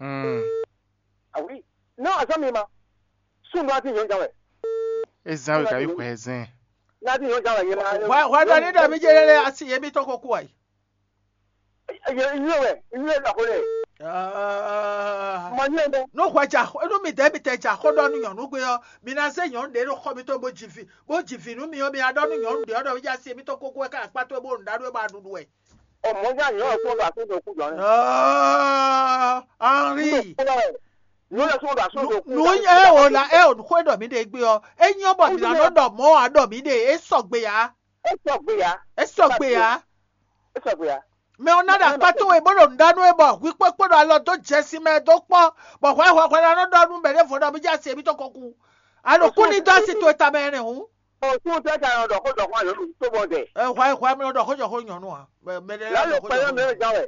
Hmm. Ah oui. Non, azɔn mi ma. Sun do ati nyɔn jan wɛ. E zan we kabi xɔ ɛ zɛn. Na ti nyɔn jan wɛ yɛ na. Hwa hwa ɖɔ ní ɖɔ mí jɛ lɛ asi yɛ mí tɔn ko kú ayi. Yɛ yɛ wɛ yɛ la ko lɛ. Mɔ nyɛ dɛ. Nú hwɛ dza nú mi dɛ mi tɛ dza xó ɖɔ nú nyɔ̌nu gbé ɔ́, mi ná zé nyɔ̌nu ɖě ɖo xɔ mitɔn bó ji vi bó ji vi nú mi ɔ́, mi ná ɖɔ nú nyɔ̌nu ɖě ɔ́ ɖɔ mí jɛ asi yɛ mí tɔn ko kú wɛ ká akpá towe bó ɖu ɖá ɖu wɛ bó ɖuɖu wɛ. Ɔ mɔ nya nyɔ ɔ kpɔ ba so do kú jɔ ne. Henri, Nyɔ lɛ so ba so do kú. nu ɛ o la ɛ o xó ɖɔ mí ɖe gbé ɔ́, é nyɔ́ bɔ mi ná nɔ ɖɔ mɔ̌ ǎ ɖɔ mí ɖe é sɔgbe ǎ, E sɔ gbe ya. é sɔgbe ǎ. E sɔ gbe ya. Mɛ ɔ́ ná ɖo akpá towe bó ɖo nǔɖánú é bɔ hwi kpókpó ɖo alɔ dó jɛ sin mɛ dó kpɔ́, bɔ hwɛ hwɛ hwɛ ná nɔ ɖɔ nú mɛɖěvo ɖɔ mí jɛ asi yɛ mí tɔn ko kú. Alo kú ní dó asi towe tamɛ ɛnɛ hǔn. O tún tẹ́ ta yọ dɔ̀kó dɔ̀kó àyọ̀ tó bọ̀ dẹ̀. Ɛ hwɛ hwɛ mi nɔ ɖɔ xó jɔ xó nyɔ̌nu a. Mɛ mɛ ɖe Lálẹ́ ɖɔ xó pẹ̀lú jɔ mi xó. ò já wẹ̀.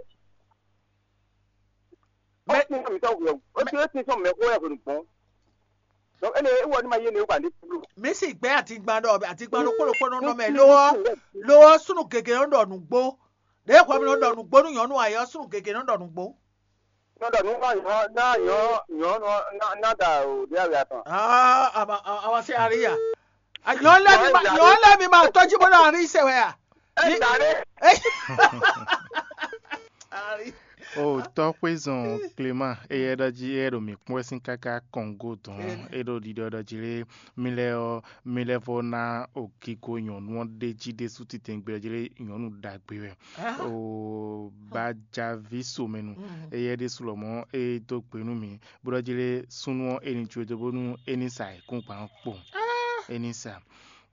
Ó Mɛ- tún mi tọ́ wẹ̀. Ó tún ó tún sọ mẹ́ kó yẹ kò ní gbọ́n. Donc, ele é wɔ ní ma yé ne wà ní kúlù. Mi si gbɛ atigban ɖɔ atigban ɖokpó ɖokpó nɔ nɔ mɛ lowɔ lowɔ sunu gege nɔ ɖɔ nǔgbó. Ɖe xɔ mi nɔ ɖɔ nǔgbó nú nyɔ̌nu ayɔ sunu gege nɔ ɖɔ nǔgbó. Nɔ dɔ nu ma yɔ na yɔ yɔ nɔ na na da o de awi atɔn. Aa ama ama se ari ya. Nyɔ̌nu lɛ mi ma nyɔ̌nu lɛ mi ma tɔjú bó ɖo ari se wɛ a. Ɛ da ɖe. Ari. O tɔxwezɔn Clément eyɛ ɖɔ jí eyɛ ɖo mǐ kpɔ́n wɛ sín káká kɔngo dɔn Ene. É ɖo ɖiɖɔ ɖɔ jí lé mi lɛ ɔ mi lɛ vɔ ná ogigo nyɔ̌nu ɔ́ ɖe jí ɖésú titɛngbé ɔ́ jí lé nyɔ̌nu ɖagbe wɛ. O bajavi somɛnu eyɛ ɖésú lɔmɔ é dó gbe nú mǐ bó ɖɔ jí lé súnnu ɔ́ é ní jó dó bónú é ní sa ayǐkúngban ɔ́ kpo. É ní sa.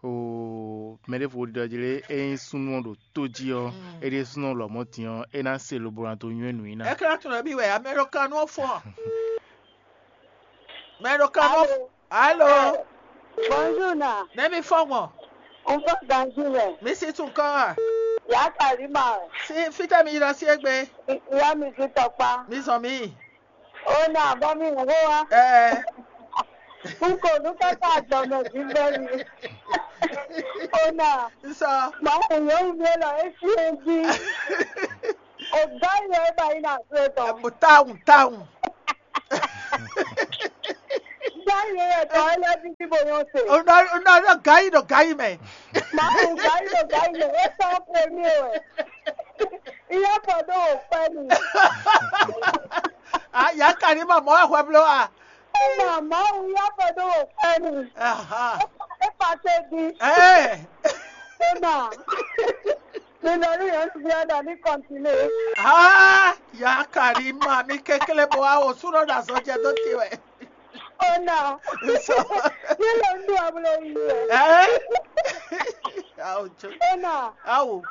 O mɛ ɖěvo ɖiɖɔ jí lé é nyí súnnu ɔ́ ɖo tó jí ɔ́ é ɖíe súnnu ɔ́ lɔmɔ̌ din ɔ́ é ná se lobo ná dó nywɛ́ nǔ i ná. Ekla tun ɖe bi wɛ amɛɖokanu ɔ́ fɔ́n. Mɛɖokanu ɔ́. Alo. Bonjour na. Ne mi fɔ́n gbɔn. N fɔ ganji lɛ. Mi si tun kɔ a. Ya kari ma. Si fitɛ mi yi ɖɔ si egbe. Ya mi si tɔkpa. Mi zɔn mi. O na bɔ mi wo wa. Ɛɛ. Un ko nú káká adɔmɛ vívɛ́ mi. Ona, Nsɔ. Mawu yɔ́nu mi lɔ é sí e jí. O gá yɔ é ba yi na agbé tɔn. Tawun tawun. Gá yɔ é tɔ é lɔ bí bí bo yɔn se. Unɔ unɔ unɔ gayi ɖo gayi mɛ. Mawu gá yɔ gá yɔ é sɔ premier wɛ. Iye fɔ ɖo o pɛ mi. A ya ka ni ma mɔ ahwɛ blo a. Ona Mawu ya fɔ ɖo o pɛ mi. Aha. É pa se di. Ɛɛ. Ona. Mi nɔ ní yɔn ti fi ada ní kɔntine. Aa ya ka ni ma mi kekle bɔ awo sunɔ ɖo azɔjɛ dó te wɛ. Ona. Nsɔ. Ní lɔ ń dún abúlé yìí rẹ̀. Ɛɛ. Awo tso. Ona. Awo.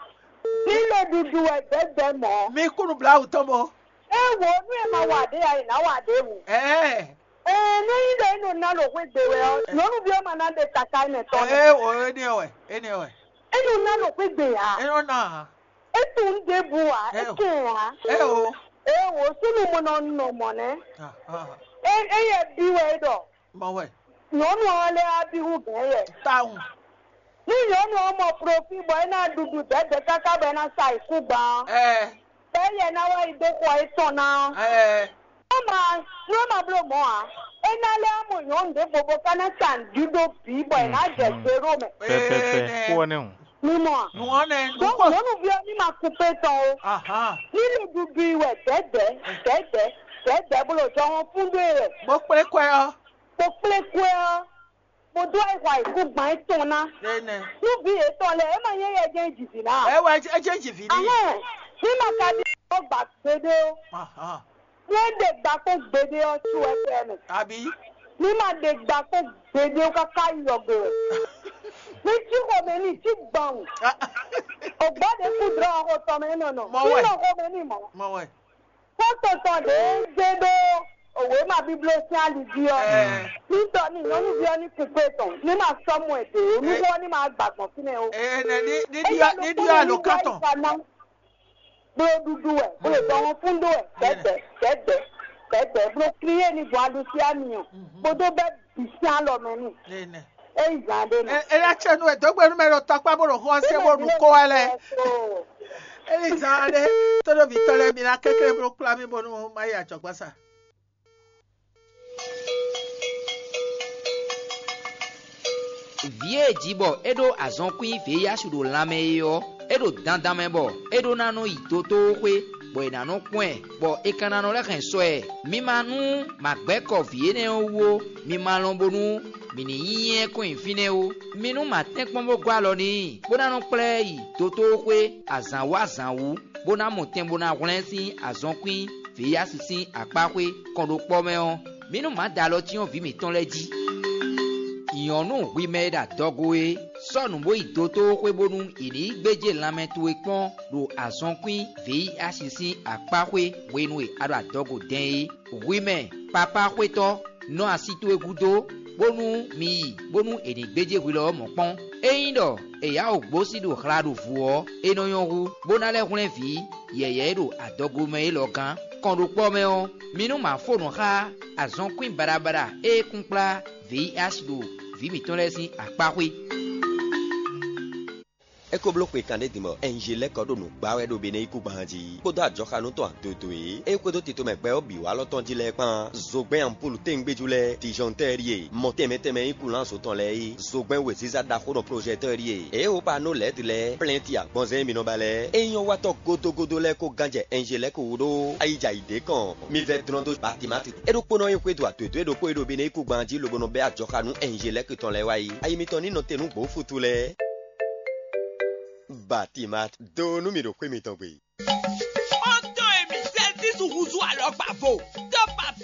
Ní lɔ dudu ẹ̀ dẹ́gbẹ́ mọ́. Mi kunu bla awu tɔn bɔ. Ẹ wo nú ẹ máa wà dé ayé náà wà dé wù. Ɛɛ. Ẹ ní yín lè nù ná lò xwé gbé wɛ ọ́. Nyɔnu bí ọmọ náà de kàkà ẹ̀ tọ́. Ɛɛ o eni wɛ eni wɛ. Ẹ nù ná lò xwé gbé yá. Eno na. Ẹ tún dé bu wá. Ẹ kẹ̀ yá. Ɛ o. Ẹ wo súnú mo nɔ nɔ mọ̀ nẹ́. Ah, ah. Ẹ ẹ yẹ bí wẹ dọ̀. Mɔ wɛ. Nyɔnu ɔ́ lé á bí wú gɛ̌n yɛ. Tawun. Ní nyɔnu ɔ́ mɔ profil bɔ é ná ɖuɖu dɛ̌dɛ̌ káká bɔ é ná sa ayǐkúngban ɔ́, Ɛɛ. bɔ é yɛ ná wá yi dó xɔ étɔn ná ɔ́. Ɛɛ. Nú ma nú ma bló mɔ̌ ǎ, é ná lɛ́ mɔ nyɔ̌nu ɖěvo bó ka ná sa nǔɖuɖu bǐ bɔ è nǎ jɛ gbe ɖó mɛ. Pɛpɛpɛ kó ɔ́ nɛ́ hǔn. Mi mɔ a? Nùwọ́n nɛ. Ɖó nyɔ̌nuví ɔ́ ní ma kú pé tɔn o. Ahan. Ní nǔɖuɖu i wɛ dɛ̌dɛ̌ dɛ̌dɛ̌ dɛ̌dɛ̌ bó ɖo jɔhɔn fún ɖó e wɛ. Bó kplé kwɛ ɔ́. Kpó kplé kwɛ ɔ́, kpódó ayǐhɔ́ayǐkúngban étɔn ná. Ɖé nɛ. Nú vǐ yětɔn lɛ́ɛ, é ma nyí éyɛ́ jɛ́n jǐ vǐ ná a? Ɛ wɛ é jẹ́ jìvì ní. Ahɛn, ní ma ka ɖi ɔ́ gba gbeɖé ó. Ahan. Ní é ɖe gba kpó gbeɖé ɔ́, sú wɛ fɛ mɛ. Àbí. Ní ma ɖe gba kpó gbeɖé ó káká yi yɔgbe wɛ. Ní cí xomɛ ní cí gbɔn. Ògbá ɖě kú dlɔ́ xo tɔn mɛ nɔ nɔ. Mɔ wɛ. Ní nɔ xomɛ ní mɔ. Mɔ wɛ. Kpɔ́tɔ́tɔ́ ɖě zé ɖó òwe ma bíbló sín ali jí ɔ́. Ɛɛ. Ní tɔ ní nyɔ̌nuví ɔ́ ní kúkú etɔn, ní ma sɔ́ mɔ ɛ dě ó, ní wɔ ní ma gbà gbɔn fínɛ́ ó. Ɛɛ nɛ ní ní ɖiɔ ní ɖiɔ àlòkán tɔn. Bló ɖuɖu wɛ, bló dɔwɔn fún ɖó wɛ, dɛdɛ, dɛdɛ, dɛdɛ, bló kliyé ní gbɔn aɖu sí ami ɔ. Kpódó bɛ́ bǐ sín alɔ mɛ n'i. Ɛɛ nɛ. É yi zǎn ɖé nɔ. Ɛ ɛ yá tsɛ nú ɛ dó gbe nú mɛ ɖo tɔkpá bó ɖo xó ɔ́ sé bó ɖu kó wá lɛ. É yi zǎn ɖé tó ɖo vǐ tɔn lɛ́ɛ mi ná kéklé bló kplá mì bónú má yi ajɔ̌gbásá. Vǐ e è ji bɔ é ɖó azɔnkwín veyíyásu ɖo lanmɛ é ɔ́, é ɖo dandan mɛ bɔ é ɖó ná nɔ yi dotóxwé, bɔ è nǎ nɔ kpɔ́n ɛ, bɔ è ka ná nɔ lɛ́ hɛn sɔ ɛ. Mi ma nú mǎgbɛ́kɔ vǐ énɛ́ ɔ́ wú ó, mi ma lɔn bónú mǐ ní nyí ɛ kɔn nyi fínɛ́ ó. Mi nú mǎ tɛ́nkpɔ́n bó gɔ́ alɔ n'i, bó ná nɔ kplá ɛ yi dotóxwé azǎn wú azǎn wú, bó ná mɔ tɛn bó ná hwlɛ́n sín azɔnkwín vǐyásu sín akpáxwé kɔnɖókpɔ́ mɛ ɔ́, mǐ nú mǎ da alɔ cyɔ́n vǐ mǐtɔn lɛ́ɛ jí. Nyɔ̌nu hwi mɛ e ɖo adɔgo é, sɔ́ nǔ bó yi dotóxwé bónú è nǐ yi gbéjé lanmɛ towe kpɔ́n ɖo azɔnkwín vǐyásu sín akpáxwé hwenu e a ɖo adɔgo dɛn é. Hwi mɛ papáxwétɔ́, nɔ asi towe gúdo, bónú mi yi bónú è nǐ gbéjé hwi lɔ ɔ́ mɔ̌ kpɔ́n. Ényí ɖɔ è yá wǔ gbósí ɖo hla ɖo vǔ ɔ́, é nɔ nyɔ́ hú, bó ná lɛ́ hwlɛ́n vǐ yɛ̌yɛ́ e ɖo adɔgo mɛ élɔ́ gán. Kɔnɖókpɔ́ mɛ ɔ́, mi nú ma fó nǔ xá azɔnkwín baɖabaɖa e kún kplá vǐ asi ɖo vǐ mǐtɔn lɛ́ɛ sín akpáxwé. É ko bló xwe kanɖé din bɔ Ɛnjelɛ́kɔ ɖo nǔ gbá wɛ ɖo Benɛ́yíkúngban jí, kpódó ajɔxanú tɔn adodo e é xwedó tito mɛ gbɛ ɔ́ bǐ wá lɔ tɔn jí lɛ́ɛ kpán. Zogbɛ́n ampúlu téngbéjú lɛ́ɛ, tijɔntɛ́ɛ ɖíe, mɔ tɛnmɛ tɛnmɛ nyí kulánzo tɔn lɛ́ɛ é, zogbɛ́n wěziza ɖaxó nɔ projɛtɔ́ɔ ɖíe, é hó pa nɔ lɛ̌ɛ́du lɛ́ɛ, plɛ́nti agbanzɛ́n e mi nɔ ba lɛ́ɛ, é nyɔ́ wa tɔ́ gódógódó lɛ́ɛ kó gán jɛ Ɛnjelɛ́kɔ wú ɖó ayi jɛ ayǐ ɖé kɔn. Mi vɛ́ dlɔ́n dó Batimati. É ɖokpónɔ e xwedó adodo e ɖokpó e ɖo Benɛ́yíkúngban jí lobo nɔ bɛ́ ajɔxanú Ɛnjelɛ́kɔ tɔn lɛ́ɛ wá yi. Ayi mitɔn ní nɔ te nú gbǒfutu lɛ́ɛ. Batimat, do nú mì ɖo xwé mitɔn gbe. Xɔ́ntɔn e mi Sɛltísu húzú alɔkpa vo,